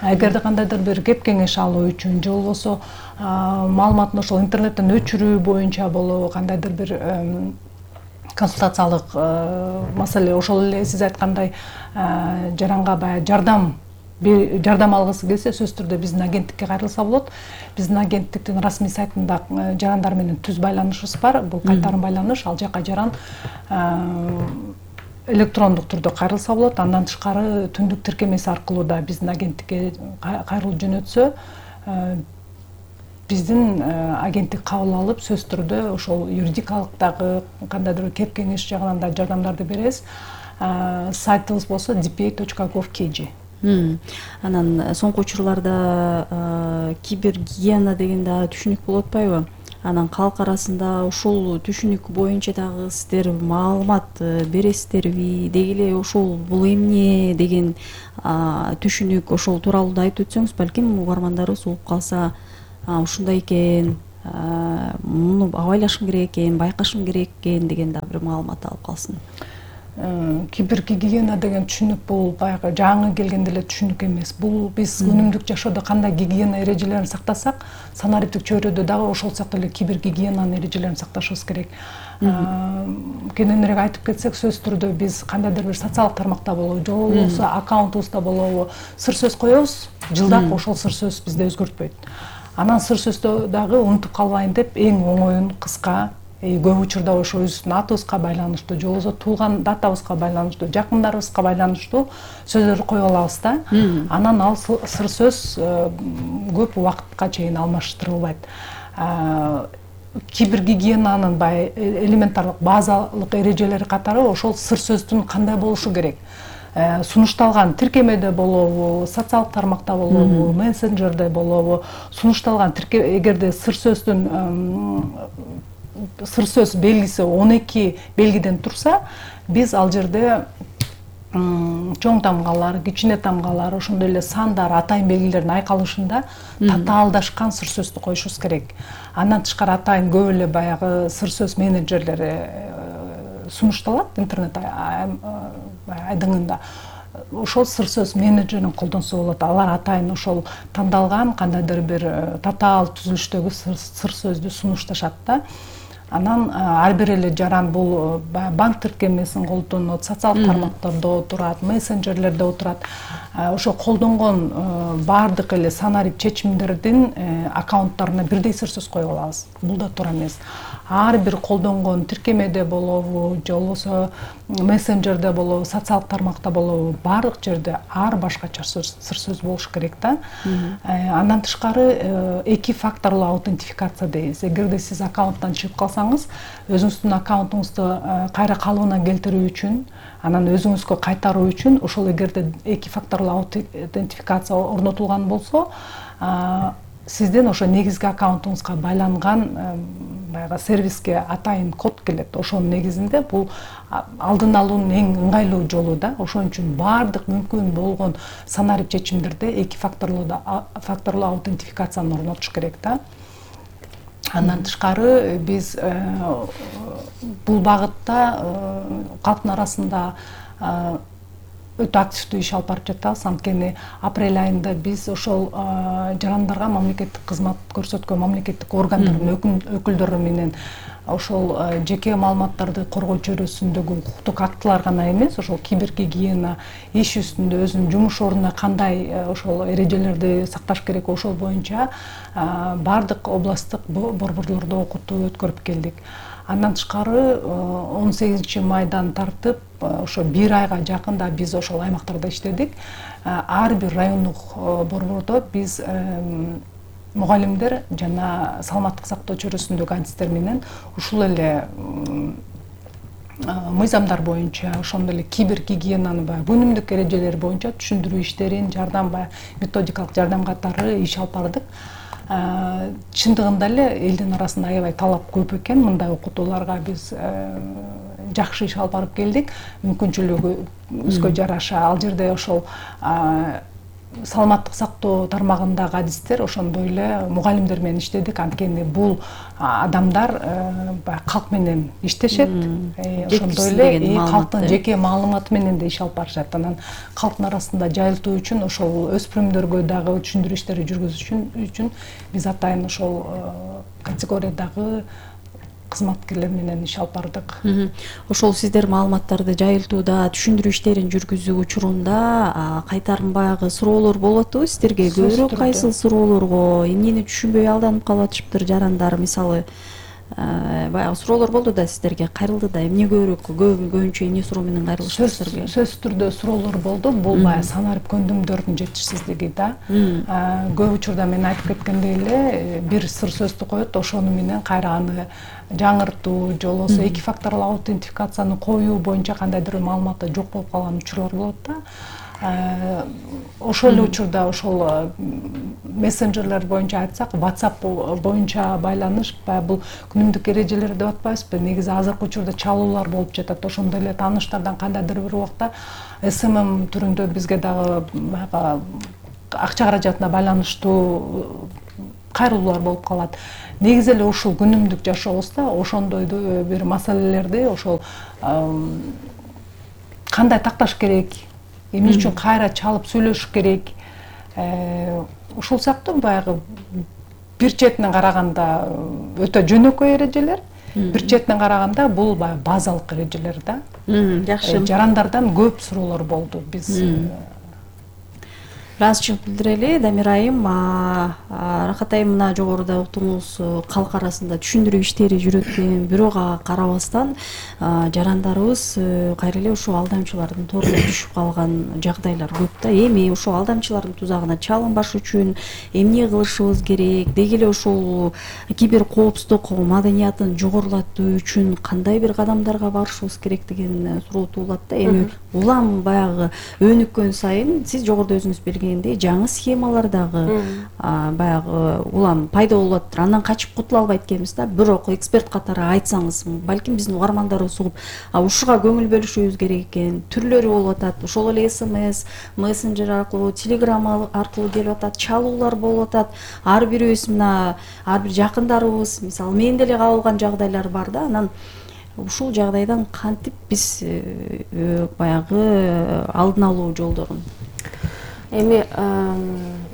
Эгерде кандайдыр бир кеп кеңеш алуу үчүн же болбосо маалыматын ошол интернеттен өчүрүү боюнча болобу, кандайдыр бир консультациялык маселе, ошол эле сиз айткандай жаранга баягы жардам алгысы келсе, сөзсүз түрдө биздин агенттикке кайрылса болот. Биздин агенттиктин расмий сайтында жарандар менен түз байланышыбыз бар. Бул кайтарым байланыш, ал жака жаран электрондук түрдө кайрылса болот. Андан тышкары түндүк тиркемеси аркылуу да биздин агенттикке кайрылып жөнөтсө, биздин агенттик кабыл алып, сөзсүз түрдө ошол юридикалык дагы кандайдыр кеп кеңеш жагынан да жардамдарды беребиз. Сайтыбыз болсо dpa.gov.kg. Анан соңку учурларда кибергигиена деген да түшүнүк болуп атпайбы? анан калк арасында ушул түшүнүк боюнча дагы сиздер маалымат бересиздерби, деги эле ушул бул эмне деген түшүнүк ошол тууралуу да айтып өтсөңүз, балким угармандарыбыз угуп калса ушундай экен, муну абайлашым керек экен, байкашым керек экен деген да бир маалымат алып калсын. Кибергигиена деген түшүнүк бул баягы жаңы келген деле түшүнүк эмес. Бул биз күнүмдүк жашоодо кандай гигиена эрежелерин сактасак, санариптик чөйрөдө дагы ошол сыяктуу эле кибергигиенанын эрежелерин сакташыбыз керек. Кененирээк айтып кетсек, сөзсүз түрдө биз кандайдыр бир социалдык тармакта болобу, же болбосо аккаунтубузда болобу сыр сөз коебуз, жылдап ошол сыр сөз бизде өзгөртпөйт. Анан сыр сөздө дагы унутуп калбайын деп эң оңоюн кыска, көп учурда ошо өзүбүздүн атыбызга байланыштуу, же болбосо туулган датабызга байланыштуу, жакындарыбызга байланыштуу сөздөрдү коюп алабыз да. Анан ал сыр сөз көп убакытка чейин алмаштырылбайт. Кибергигиенанын элементарлык базалык эрежелери катары ошол сыр сөздүн кандай болушу керек. Сунушталган тиркемеде болобу, социалдык тармакта болобу, мессенджерде болобу, сунушталган эгерде сыр сөз белгиси 12 белгиден турса, биз ал жерде чоң тамгалар, кичине тамгалар, ошондой эле сандар, атайын белгилердин айкалышында татаалдашкан сыр сөздү коюшубуз керек. Андан тышкары атайын көп эле баягы сыр сөз менеджерлери сунушталат интернет айдыңында. Ошол сыр сөз менеджерин колдонсо болот. Алар атайын ошол тандалган кандайдыр бир татаал түзүлүштөгү сыр сөздү сунушташат да. Анан ар бир эле жаран бул банк тиркемесин колдонот, социалдык тармактарда отурат, мессенджерлерде отурат. Ошо колдонгон баардык эле санарип чечимдердин аккаунттарына бирдей сыр сөз коюп алабыз. Бул да туура эмес. Ар бир колдонгон тиркемеде болобу, же болбосо мессенджерде болобу, социалдык тармакта болобу, баардык жерде ар башкача сыр сөз болуш керек да. Андан тышкары эки факторлуу аутентификация дейбиз. Эгерде сиз аккаунттан чыгып калсаңыз, өзүңүздүн аккаунтуңузду кайра калыбына келтирүү үчүн, анан өзүңүзгө кайтаруу үчүн ошол эгерде эки факторлуу аутентификация орнотулган болсо, сизден ошо негизги аккаунтуңузга байланган баягы сервиске атайын код келет. Ошонун негизинде бул алдын алуунун эң ыңгайлуу жолу да. Ошон үчүн баардык мүмкүн болгон санарип чечимдерде эки факторлуу аутентификацияны орнотуш керек да. Андан тышкары биз бул багытта калктын арасында өтө активдүү иш алып барып жатабыз. Анткени апрель айында биз ошол жарандарга мамлекеттик кызмат көрсөткөн мамлекеттик органдардын өкүлдөрү менен ошол жеке маалыматтарды коргоо чөйрөсүндөгү укуктук актылар гана эмес, ошол кибергигиена иш үстүндө өзүнүн жумуш ордунда кандай ошол эрежелерди сакташ керек, ошол боюнча баардык областтык борборлордо окутуу өткөрүп келдик. Андан тышкары 18 майдан тартып ошо бир айга жакында биз ошол аймактарда иштедик. Ар бир райондук борбордо биз мугалимдер жана саламаттык сактоо чөйрөсүндөгү адистер менен ушул эле мыйзамдар боюнча, ошондой эле кибергигиенанын күнүмдүк эрежелери боюнча түшүндүрүү иштерин, методикалык жардам катары иш алып бардык. Чындыгында эле элдин арасында аябай талап көп экен. Мындай окутууларга биз жакшы иш алып барып келдик. Мүмкүнчүлүгүбүзгө жараша ал жерде ошол саламаттык сактоо тармагындагы адистер ошондой эле мугалимдер менен иштедик. Анткени бул адамдар калк менен иштешет, ошондой эле калктын жеке маалыматы менен да иш алып барышат. Анан калктын арасында жайылтуу үчүн ошол өспүрүмдөргө дагы түшүндүрүү иштери жүргүзүү үчүн биз атайын ошол категориядагы кызматкерлер менен иш алып бардык. Ошол сиздер маалыматтарды жайылтууда, түшүндүрүү иштерин жүргүзүү учурунда кайтарымбагы суроолор болуп атпыбы сиздерге? Көбүрөөк кайсыл суроолорго, эмнени түшүнбөй алданып калып атышыптыр жарандар? Мисалы, баягы суроолор болду да сиздерге, кайрылды да, эмне көбүнчө эмне суроо менен кайрылышты сиздерге? Сөзсүз түрдө суроолор болду. Бул баягы санарип көндүмдөрдүн жетишсиздиги да. Көп учурда мен айтып кеткендей эле бир сыр сөздү коет, ошону менен кайра аны жаңыртуу, же болбосо эки факторлуу аутентификацияны коюу боюнча кандайдыр маалыматы жок болуп калган учурлар болот да. ошол эле учурда ошол мессенджерлер боюнча айтсак, WhatsApp боюнча байланыш баягы бул күнүмдүк эрежелер деп атпайбызбы? Негизи азыркы учурда чалуулар болуп жатат. Ошондой эле тааныштардан кандайдыр бир убакта СММ түрүндө бизге дагы баягы акча каражатына байланыштуу кайрылуулар болуп калат. Негизи эле ушул күнүмдүк жашообузда ошондой бир маселелерди ошол кандай такташ керек, эмне үчүн кайра чалып сүйлөшүш керек, ушул сыяктуу баягы бир четинен караганда өтө жөнөкөй эрежелер, бир четинен караганда бул баягы базалык эрежелер да. Жакшы. Жарандардан көп суроолор болду. Биз ыраазычылык билдирели. Дамир айым, Рахат айым, мына жогоруда уктуңуз калк арасында түшүндүрүү иштери жүрөт экен. Бирок ага карабастан жарандарыбыз кайра эле ушул алдамчылардын торуна түшүп калган жагдайлар көп да. Эми ушул алдамчылардын тузагына чалынбаш үчүн эмне кылышыбыз керек? Деги эле ушул кибер коопсуздук маданиятын жогорулатуу үчүн кандай бир кадамдарга барышыбыз керек деген суроо туулат да. Эми улам баягы өнүккөн сайын сиз жогоруда өзүңүз белгилегендей жаңы схемалар дагы баягы улам пайда болуп атат. Андан качып кутула албайт экенбиз да. Бирок эксперт катары айтсаңыз, балким биздин угармандарыбыз угуп, ушуга көңүл бөлүшүбүз керек экен. Түрлөрү болуп атат. Ошол эле СМС, мессенджер аркылуу, Telegram аркылуу келип атат, чалуулар болуп атат. Ар бирибиз мына ар бир жакындарыбыз, мисалы мен деле кабылган жагдайлар бар да. Анан ушул жагдайдан кантип биз баягы алдын алуу жолдорун? Эми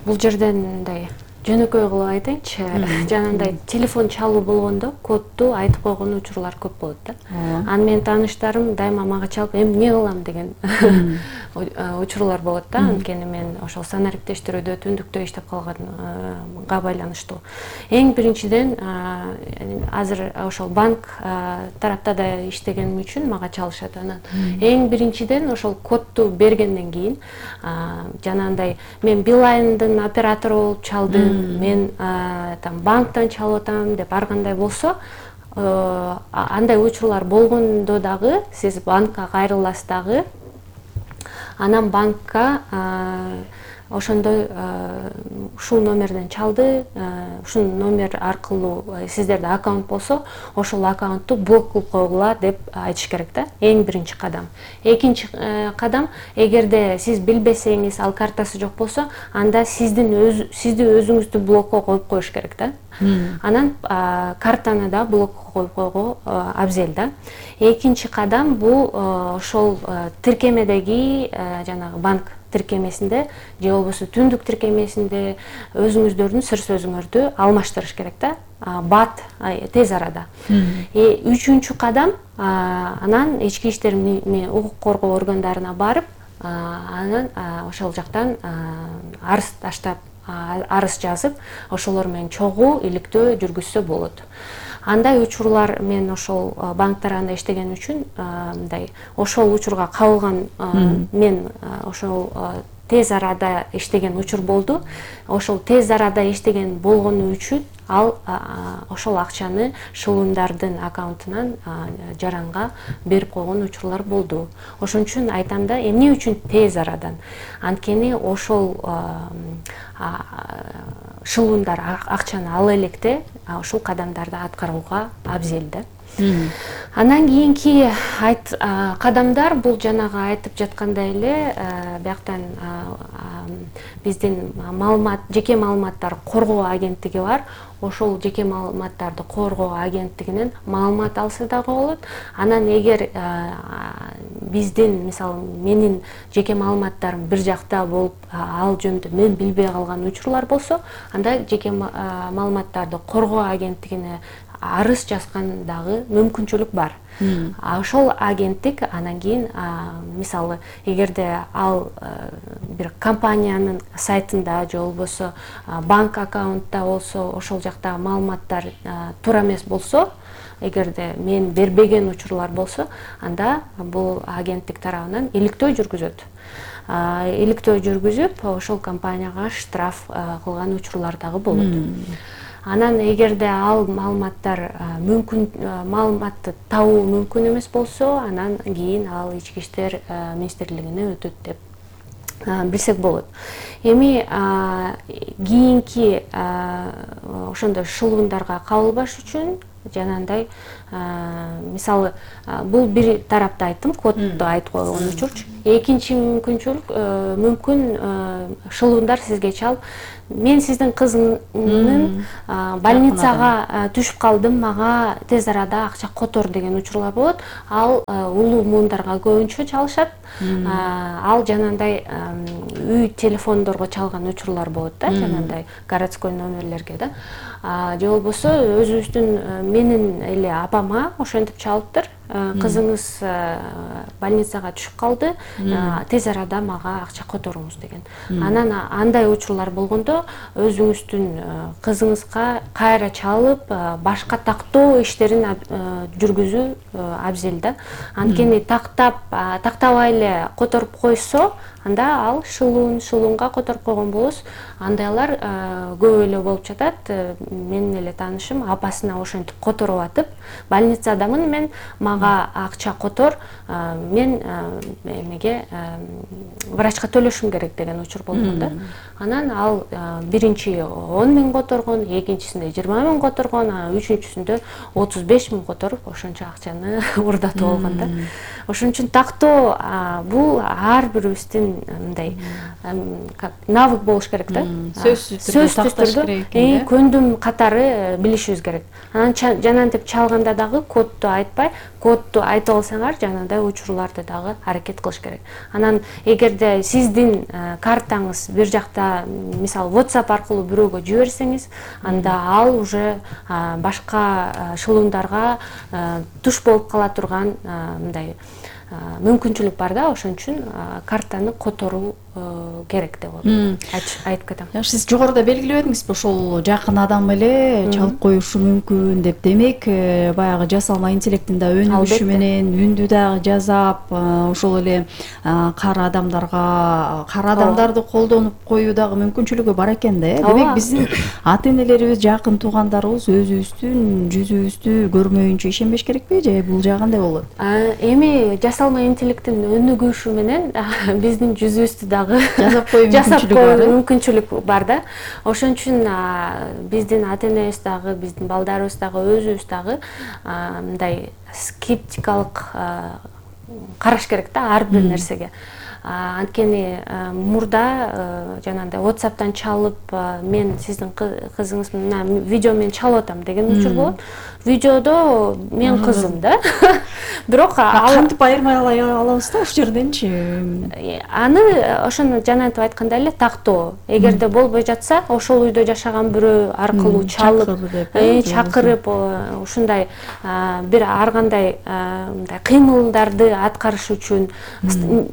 бул жерден мындай жөнөкөй кылып айтайынчы. Жанагындай телефон чалуу болгондо кодду айтып койгон учурлар көп болот да. Анан менин тааныштарым дайыма мага чалып, эмне кылам деген учурлар болот да. Анткени мен ошол санариптештирүүдө түндүктө иштеп калганга байланыштуу. Эң биринчиден азыр ошол банк тарапта да иштегеним үчүн мага чалышат. Анан эң биринчиден ошол кодду бергенден кийин жанагындай мен Билайндын оператору болуп чалдым, мен там банктан чалып атам деп ар кандай болсо, андай учурлар болгондо дагы сиз банкка кайрыласыз дагы. Анан банкка ошондой ушул номерден чалды, ушул номер аркылуу сиздерде аккаунт болсо, ошол аккаунтту блок кылып койгула деп айтыш керек да. Эң биринчи кадам. Экинчи кадам, эгерде сиз билбесеңиз, ал картасы жок болсо, анда сизди өзүңүздү блокко коюп коюш керек да. Анан картаны да блокко коюп койго абзел да. Экинчи кадам бул ошол тиркемедеги жанагы банк тиркемесинде же болбосо түндүк тиркемесинде өзүңүздөрдүн сыр сөзүңөрдү алмаштырыш керек да. Бат тез арада. Үчүнчү кадам, анан ички иштер укук коргоо органдарына барып, анан ошол жактан арыз таштап, арыз жазып, ошолор менен чогуу иликтөө жүргүзсө болот. Андай учурлар мен ошол банк тарабында иштеген үчүн мындай ошол учурга кабылган мен ошол тез арада иштеген учур болду. Ошол тез арада иштеген болгону үчүн ал ошол акчаны шылымдардын аккаунтунан жаранга берип койгон учурлар болду. Ошон үчүн айтам да, эмне үчүн тез арадан? Анткени ошол шылымдар акчаны ала электе ушул кадамдарды аткарууга абзел да. Андан кийинки кадамдар бул жанагы айтып жаткандай эле бияктан биздин жеке маалыматтар коргоо агенттиги бар. Ошол жеке маалыматтарды коргоо агенттигинен маалымат алса дагы болот. Анан эгер биздин, мисалы, менин жеке маалыматтарым бир жакта болуп, ал жөнүндө мен билбей калган учурлар болсо, анда жеке маалыматтарды коргоо агенттигине арыз жазган дагы мүмкүнчүлүк бар. Ошол агенттик анан кийин, мисалы, эгерде ал бир компаниянын сайтында же болбосо банк аккаунтта болсо, ошол жакта маалыматтар туура эмес болсо, эгерде мен бербеген учурлар болсо, анда бул агенттик тарабынан иликтөө жүргүзөт. Иликтөө жүргүзүп, ошол компанияга штраф кылган учурлар дагы болот. Анан эгерде ал маалыматтар маалыматты табуу мүмкүн эмес болсо, анан кийин ал ички иштер министрлигине өтөт деп билсек болот. Эми кийинки ошондой шылуундарга кабылбаш үчүн жанагындай мисалы бул бир тарапты айттым, кодду айтып койгон учурчу. Экинчи мүмкүнчүлүк мүмкүн шылуундар сизге чалып, мен сиздин кызыңыздын больницага түшүп калдым, мага тез арада акча котор деген учурлар болот. Ал улуу муундарга көбүнчө чалышат. Ал жанагындай үй телефондорго чалган учурлар болот да, жанагындай городской номерлерге да. Же болбосо өзүбүздүн менин эле апама ошентип чалыптыр. Кызыңыз больницага түшүп калды, тез арада мага акча которуңуз деген. Анан андай учурлар болгондо өзүңүздүн кызыңызга кайра чалып, башка тактоо иштерин жүргүзүү абзел да. Анткени тактабай эле которуп койсо, анда ал шылуунга которуп койгон болосуз. Андайлар көп эле болуп жатат. Менин эле таанышым апасына ошентип которуп атып, больницадамын мен, мага акча котор, мен эмеге врачка төлөшүм керек деген учур болгон да. Анан ал биринчи 10 миң которгон, экинчисинде 20 миң которгон, үчүнчүсүндө 35 миң которуп, ошончо акчаны урдатып болгон да. Ошон үчүн тактоо бул ар бирибиздин мындай навык болуш керек да. Сөзсүз түрдө көндүм катары билишибиз керек. Анан жанагынтип чалганда дагы кодду айтпай, кодду айтып алсаңар, жанагындай учурларды дагы аракет кылыш керек. Анан эгерде сиздин картаңыз бир жакта, мисалы WhatsApp аркылуу бирөөгө жиберсеңиз, анда ал уже башка шылуундарга туш болуп кала турган мындай мүмкүнчүлүк бар да. Ошон үчүн картаны которуу керек деп айтып кетем. Сиз жогоруда белгилеп эдиңизби, ошол жакын адам эле чалып коюшу мүмкүн деп. Демек, баягы жасалма интеллекттин да өнүгүшү менен үндү дагы жасап, ошол эле кара адамдарды колдонуп коюу дагы мүмкүнчүлүгү бар экен да. Демек, биздин ата-энелерибиз, жакын туугандарыбыз өзүбүздүн жүзүбүздү көрмөйүнчө ишенбеш керекпи, же бул жагы кандай болот? Эми жасалма интеллекттин өнүгүшү менен биздин жүзүбүздү дагы жасап коюу мүмкүнчүлүк бар да. Ошон үчүн биздин ата-энебиз дагы, биздин балдарыбыз дагы, өзүбүз дагы мындай скептикалык караш керек да ар бир нерсеге. Анткени мурда жанагындай WhatsApp'тан чалып, мен сиздин кызыңызмын, видео менен чалып атам деген учур болот. Видеодо мен кызым да. Бирок кантип айырмай алабыз да ошол жерденчи? Аны ошону жанагынтип айткандай эле тактоо. Эгерде болбой жатса, ошол үйдө жашаган бирөө аркылуу чалып, чакырып, ушундай бир ар кандай мындай кыймылдарды аткарыш үчүн,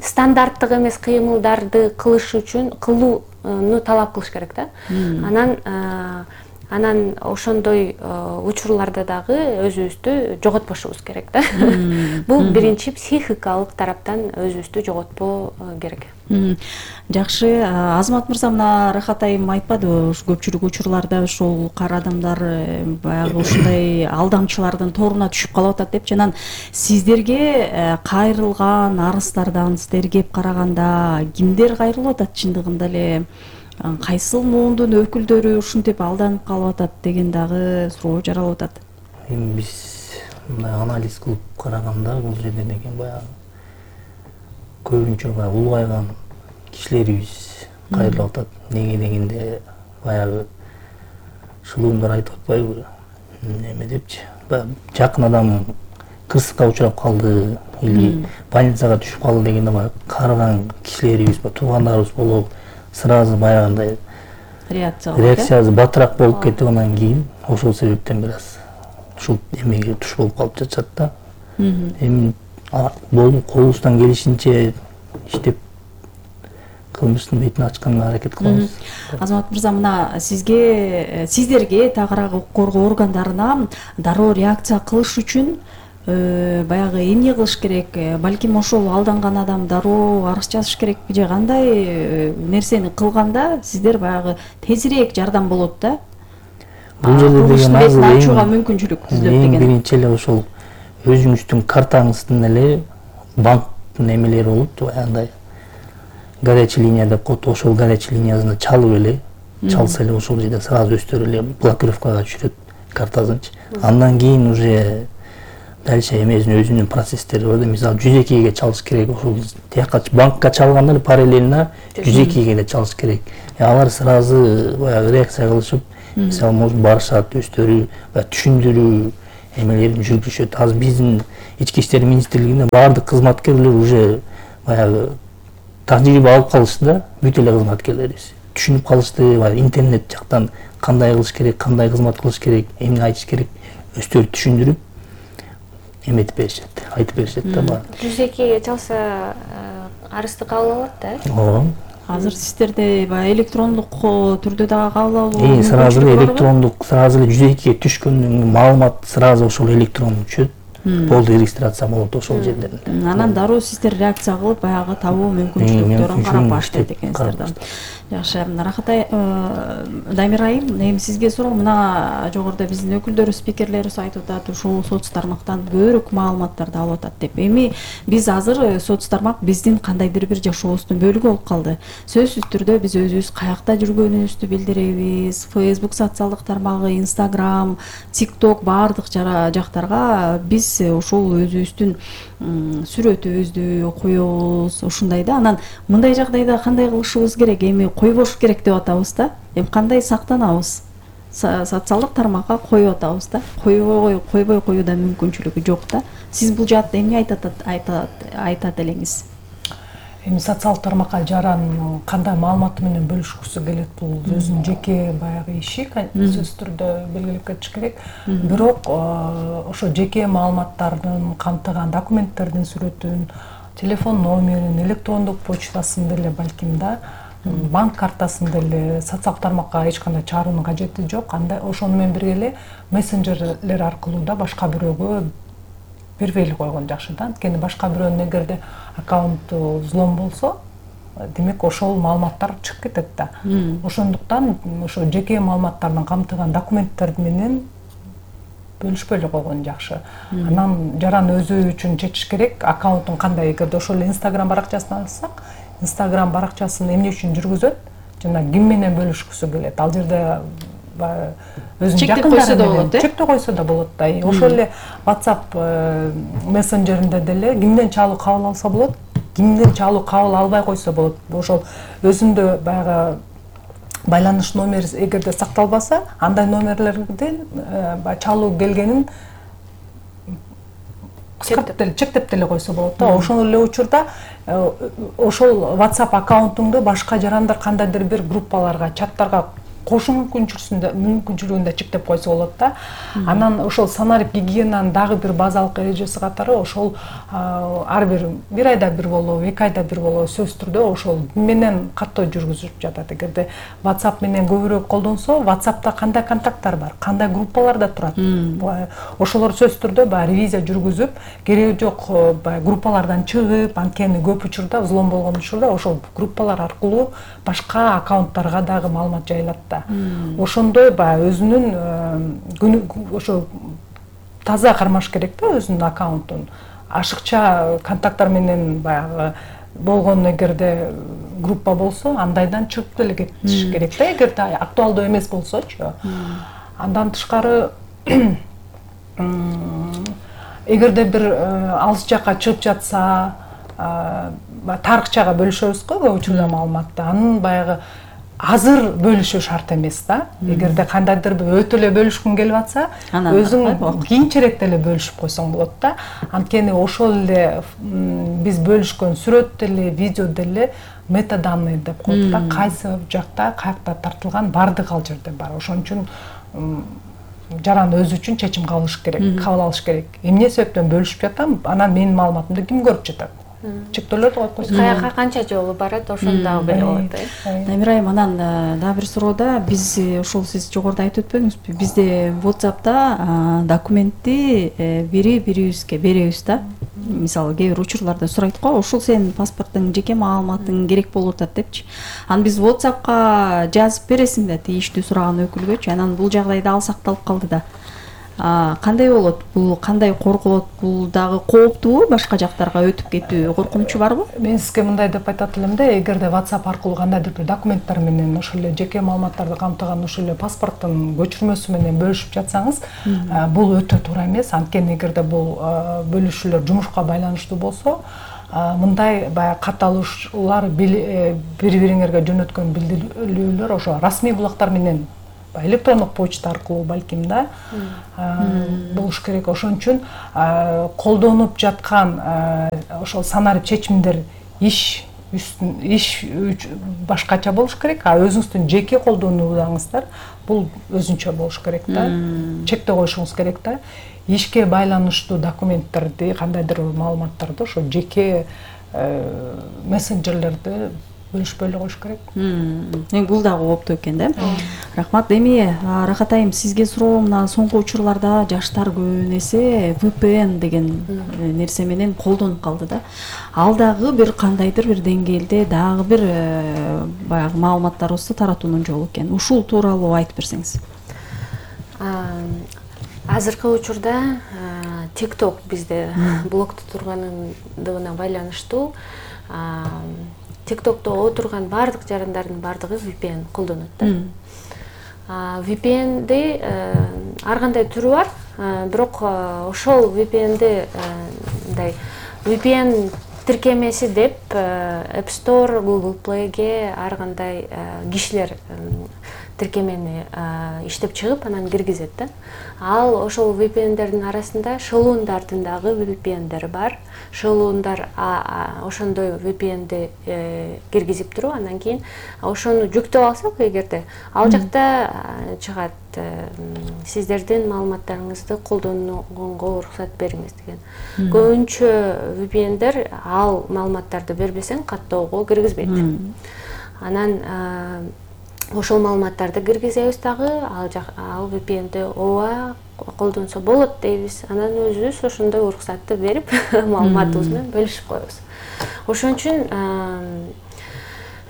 стандарттык эмес кыймылдарды кылыш үчүн кылууну талап кылыш керек да. Анан ошондой учурларда дагы өзүбүздү жоготпошубуз керек да. Бул биринчи психикалык тараптан өзүбүздү жоготпоо керек. Жакшы, Азамат мырза, мына Рахат айым айтпадыбы, көпчүлүк учурларда ошол кара адамдар баягы ушундай алдамчылардын торуна түшүп калып атат деп. Жанан сиздерге кайрылган арыздардан сиздер кеп караганда кимдер кайрылып атат чындыгында эле? Кайсыл муундун өкүлдөрү ушинтип алданып калып атат деген дагы суроо жаралып атат. Эми биз мындай анализ кылып караганда бул жерде деген баягы көбүнчө баягы улгайган кишилерибиз кайрылып атат. Неге дегенде баягы шылуундар айтып атпайбы, эме депчи, жакын адам кырсыкка учурап калды или больницага түшүп калды дегенде баягы карыган кишилерибиз, туугандарыбыз болуп сразу баягындай реакциясы батыраак болуп кетип, анан кийин ошол себептен бир аз ушул эмеге туш болуп калып жатышат да. Эми колубуздан келишинче иштеп кылмыштын бетин ачканга аракет кылабыз. Азамат мырза, мына сиздерге тагыраак укук коргоо органдарына дароо реакция кылыш үчүн баягы эмне кылыш керек? Балким ошол алданган адам дароо арыз жазыш керекпи, же кандай нерсени кылганда сиздер баягы тезирээк жардам болот да? Бул жерде деген азыр ачууга мүмкүнчүлүк түзүлөт деген. Биринчи эле ошол өзүңүздүн картаңыздын эле банктын эмелери болот, баягындай горячий линия деп коет, ошол горячий линиясына чалып эле, чалса эле ошол жерде сразу өстөрүп эле блокировкага түшүрөт картасынчы. Андан кийин уже дальше эмесинин өзүнүн процесстери бар да. Мисалы 102ге чалыш керек, ошол тияка банкка чалганда эле параллельно 102ге эле чалыш керек. Алар сразу баягы реакция кылышып, мисалы может барышат, өздөрү түшүндүрүү эмелерин жүргүзүшөт. Азыр биздин ички иштер министрлигинде баардык кызматкерлер уже баягы тажрыйба алып калышты да, бүт эле кызматкерлерибиз түшүнүп калышты, интернет жактан кандай кылыш керек, кандай кызмат кылыш керек, эмне айтыш керек, өздөрү түшүндүрүп эметип беришет, айтып беришет да баары. 102ге чалса арызды кабыл алат да? Ооба. Азыр сиздерде баягы электрондук түрдө дагы кабыл алуу. Сразу эле электрондук, сразу эле 102ге түшкөндөн маалымат сразу ошол электрондук түшөт. Болду, регистрация болот ошол жерден. Анан дароо сиздер реакция кылып баягы табуу мүмкүнчүлүктөрүн карап баштайт экенсиздер да. Жакшы, Рахат Дамир айым, эми сизге суроо, мына жогоруда биздин өкүлдөрү, спикерлерибиз айтып атат, ушул соц тармактан көбүрөөк маалыматтарды алып атат деп. Эми биз азыр соц тармак биздин кандайдыр бир жашообуздун бөлүгү болуп калды. Сөзсүз түрдө биз өзүбүз каякта жүргөнүбүздү билдиребиз. Facebook социалдык тармагы, Instagram, TikTok баардык жактарга биз ушул өзүбүздүн сүрөтүбүздү коебуз, ушундай да. Анан мындай жагдайда кандай кылышыбыз керек? Эми койбош керек деп атабыз да. Эми кандай сактанабыз? Социалдык тармакка коюп атабыз да. Койбой коюуда мүмкүнчүлүгү жок да. Сиз бул жаатта эмне айтат элеңиз? Эми социалдык тармакка жаран кандай маалыматы менен бөлүшкүсү келет, бул өзүнүн жеке баягы иши, сөзсүз түрдө белгилеп кетиш керек. Бирок ошо жеке маалыматтардын камтыган документтердин сүрөтүн, телефон номерин, электрондук почтасын деле балким да, банк картасын деле социалдык тармакка эч кандай чыгаруунун кажети жок. Андай ошону менен бирге эле мессенджерлер аркылуу да башка бирөөгө бербейли койгон жакшы да. Анткени башка бирөөнүн эгерде аккаунту взлом болсо, демек ошол маалыматтар чыгып кетет да. Ошондуктан ошо жеке маалыматтардын камтыган документтер менен бөлүшпөй эле койгон жакшы. Анан жаран өзү үчүн чечиш керек, аккаунтун кандай. Эгерде ошол Instagram баракчасын алсак, Instagram баракчасын эмне үчүн жүргүзөт жана ким менен бөлүшкүсү келет. Ал жерде өзүнүн жакындары менен чектөө койсо да болот да. Ошол эле WhatsApp мессенджеринде деле кимден чалуу кабыл алса болот, кимден чалуу кабыл албай койсо болот. Ошол өзүндө баягы байланыш номери эгерде сакталбаса, андай номерлерден чалуу келгенин чектеп деле койсо болот да. Ошол эле учурда ошол WhatsApp аккаунтуңду башка жарандар кандайдыр бир группаларга, чаттарга кошуу мүмкүнчүлүгүн чектеп койсо болот да. Анан ошол санарип гигиенанын дагы бир базалык эрежеси катары ошол ар бир айда бир болобу, 2 айда бир болобу сөзсүз түрдө ошол менен каттоо жүргүзүп жатат. Эгерде WhatsApp менен көбүрөөк колдонсо, WhatsAppта кандай контакттар бар, кандай группаларда турат, ошолор сөзсүз түрдө баягы ревизия жүргүзүп, кереги жок баягы группалардан чыгып, анткени көп учурда взлом болгон учурда ошол группалар аркылуу башка аккаунттарга дагы маалымат жайылат. Ошондой баягы өзүнүн ошо таза кармаш керек да өзүнүн аккаунтун. Ашыкча контакттар менен баягы болгон эгерде группа болсо, андайдан чыгып деле кетиш керек да, эгерде актуалдуу эмес болсочу. Андан тышкары эгерде бир алыс жакка чыгып жатса, тарыхчага бөлүшөбүз го көп учурда маалыматты. Анын баягы азыр бөлүшүү шарт эмес да. Эгерде кандайдыр бир өтө эле бөлүшкүң келип атса, өзүң кийинчерээк деле бөлүшүп койсоң болот да. Анткени ошол эле биз бөлүшкөн сүрөт деле, видео деле метаданные деп коет да. Кайсы жакта, каякта тартылган бардык ал жерде бар. Ошон үчүн жаран өзү үчүн чечим кабыл алыш керек. Эмне себептен бөлүшүп жатам, анан менин маалыматымды ким көрүп жатат? Чектөөлөрдү коюп койсо. Каяка канча жолу барат, ошону дагы беле болот. Дамир айым, анан дагы бир суроода биз ошол сиз жогоруда айтып өтпөдүңүзбү? Бизде WhatsApp'та документти бирибизге беребиз да. Мисалы кээ бир учурларда сурайт го, ушул сенин паспорттуң, жеке маалыматың керек болуп атат депчи. Анан биз WhatsApp'ка жазып бересиң да тийиштүү сураган өкүлгөчү. Анан бул жагдайда ал сакталып калды да. кандай болот? Бул кандай корголот? Бул дагы кооптуу, башка жактарга өтүп кетүү коркунучу барбы? Мен сизге мындай деп айтат элем да, эгерде WhatsApp аркылуу кандайдыр бир документтер менен ошол эле жеке маалыматтарды камтыган ошол эле паспорттун көчүрмөсү менен бөлүшүп жатсаңыз, бул өтө туура эмес. Анткени эгерде бул бөлүшүүлөр жумушка байланыштуу болсо, мындай баягы катталуулар бири-бириңерге жөнөткөн билдирүүлөр ошо расмий булактар менен электрондук почта аркылуу балким да болуш керек. Ошон үчүн колдонуп жаткан ошол санарип чечимдер иш башкача болуш керек, а өзүңүздүн жеке колдонууларыңыздар бул өзүнчө болуш керек да. Чектөө коюшуңуз керек да. Ишке байланыштуу документтерди, кандайдыр маалыматтарды ошо жеке мессенджерлерди бөлүшпөй эле коюш керек. Бул дагы кооптуу экен да. Рахмат. Эми Рахат айым, сизге суроо, мына соңку учурларда жаштар көбүн эсе VPN деген нерсе менен колдонуп калды да. Ал дагы бир кандайдыр бир деңгээлде дагы бир баягы маалыматтарыбызды таратуунун жолу экен. Ушул тууралуу айтып берсеңиз. Азыркы учурда TikTok бизде блокто тургандыгына байланыштуу TikTok'то отурган бардык жарандардын бардыгы VPN колдонот да. VPN'ди ар кандай түрү бар, бирок ошол VPN'ди мындай VPN тиркемеси деп App Store, Google Play'ге ар кандай кишилер тиркемени иштеп чыгып, анан киргизет да. Ал ошол VPN'дердин арасында шылуундардын дагы VPN'дери бар. Шылуундар ошондой VPN'ди киргизип туруп, анан кийин ошону жүктөп алсак, эгерде ал жакта чыгат сиздердин маалыматтарыңызды колдонууга уруксат бериңиз деген. Көбүнчө VPN'дер ал маалыматтарды бербесең каттоого киргизбейт. Анан ошол маалыматтарды киргизебиз дагы, ал VPN'ди ооба колдонсо болот дейбиз. Анан өзүбүз ошондой уруксатты берип, маалыматыбыз менен бөлүшүп коебуз. Ошон үчүн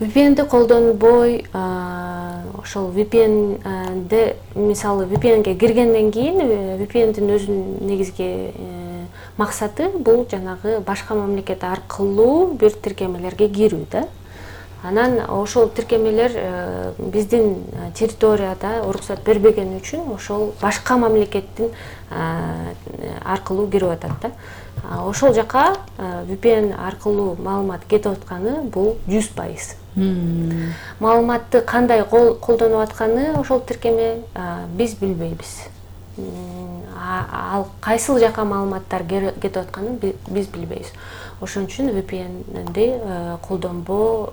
VPN'ди колдонбой, ошол VPN'ди, мисалы VPN'ге киргенден кийин VPN'дин өзүнүн негизги максаты бул жанагы башка мамлекет аркылуу бир тиркемелерге кирүү да. Анан ошол тиркемелер биздин территорияда уруксат бербеген үчүн ошол башка мамлекеттин аркылуу кирип атат да. Ошол жака VPN аркылуу маалымат кетип атканы бул 100%. Маалыматты кандай колдонуп атканы ошол тиркеме биз билбейбиз. Ал кайсыл жака маалыматтар кетип атканын биз билбейбиз. Ошон үчүн VPN'ди колдонбоо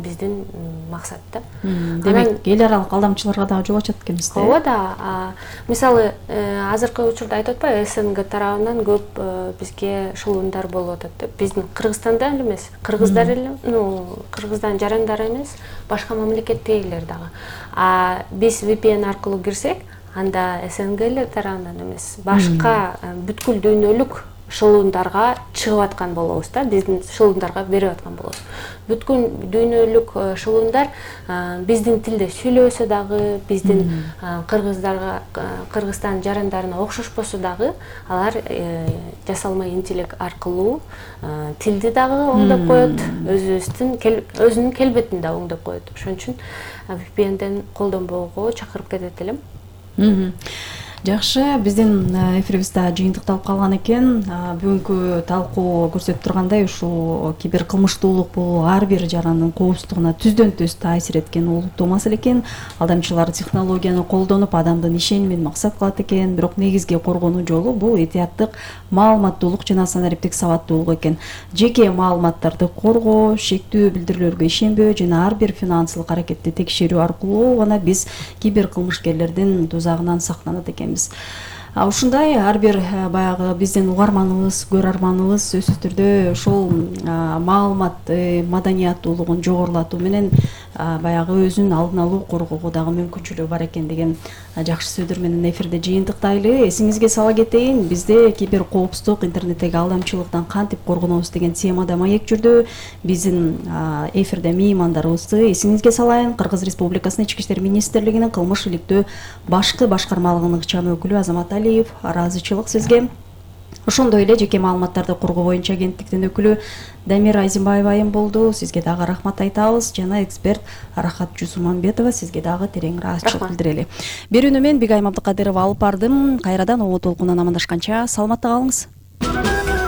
биздин максат да. Демек, эл аралык алдамчыларга дагы жол ачат экенбиз да. Ооба да. Мисалы, азыркы учурда айтып атпайбы, СНГ тарабынан көп бизге шылуундар болуп атат деп. Биздин Кыргызстанда эле эмес, кыргыздар эле, кыргыздан жарандары эмес, башка мамлекеттегилер дагы. Биз VPN аркылуу кирсек, анда СНГ эле тарабынан эмес, башка бүткүл дүйнөлүк шылуундарга чыгып аткан болобуз да, биздин шылуундарга берип аткан болобуз. Бүткүл дүйнөлүк шылуундар биздин тилде сүйлөбөсө дагы, биздин Кыргызстан жарандарына окшошпосо дагы, алар жасалма интеллект аркылуу тилди дагы оңдоп коет, өзүнүн келбетин да оңдоп коет. Ошон үчүн VPN'ден колдонбоого чакырып кетет элем. Жакшы, биздин эфирибиз да жыйынтыкталып калган экен. Бүгүнкү талкуу көрсөтүп тургандай, ушул киберкылмыштуулук бул ар бир жарандын коопсуздугуна түздөн түз таасир эткен олуттуу маселе экен. Алдамчылар технологияны колдонуп, адамдын ишенимин максат кылат экен, бирок негизги коргонуу жолу бул этияттык маалыматтуулук жана санариптик сабаттуулук экен. Жеке маалыматтарды коргоо, шектүү билдирүүлөргө ишенбөө жана ар бир финансылык аракетти текшерүү аркылуу гана биз киберкылмышкерлердин тузагынан сактанат экен. Ушундай ар бир баягы биздин угарманыбыз, көрөрманыбыз сөзсүз түрдө ошол маалымат маданияттуулугун жогорулатуу менен баягы өзүн алдын алуу, коргоого дагы мүмкүнчүлүгү бар экен деген жакшы сөздөр менен эфирде жыйынтыктайлы. Эсиңизге сала кетейин, бизде киберкоопсуздук, интернеттеги алдамчылыктан кантип коргонобуз деген темада маек жүрдү. Биздин эфирде меймандарыбызды эсиңизге салайын, Кыргыз Республикасынын Ички иштер министрлигинин кылмыш иликтөө башкы башкармалыгынын ыкчам өкүлү Азамат Алиев, ыраазычылык сизге. Ошондой эле жеке маалыматтарды кургоо боюнча агенттиктин өкүлү Дамира Айзимбаева айым болду. Сизге дагы рахмат айтабыз. Жана эксперт Рахат Жусуманбетова сизге дагы терең ыраазычылык билдирели. Берүүнү мен Бигайым Абдыкадырова алып бардым. Кайрадан Обо толкунунан амандашканча саламатта калыңыз.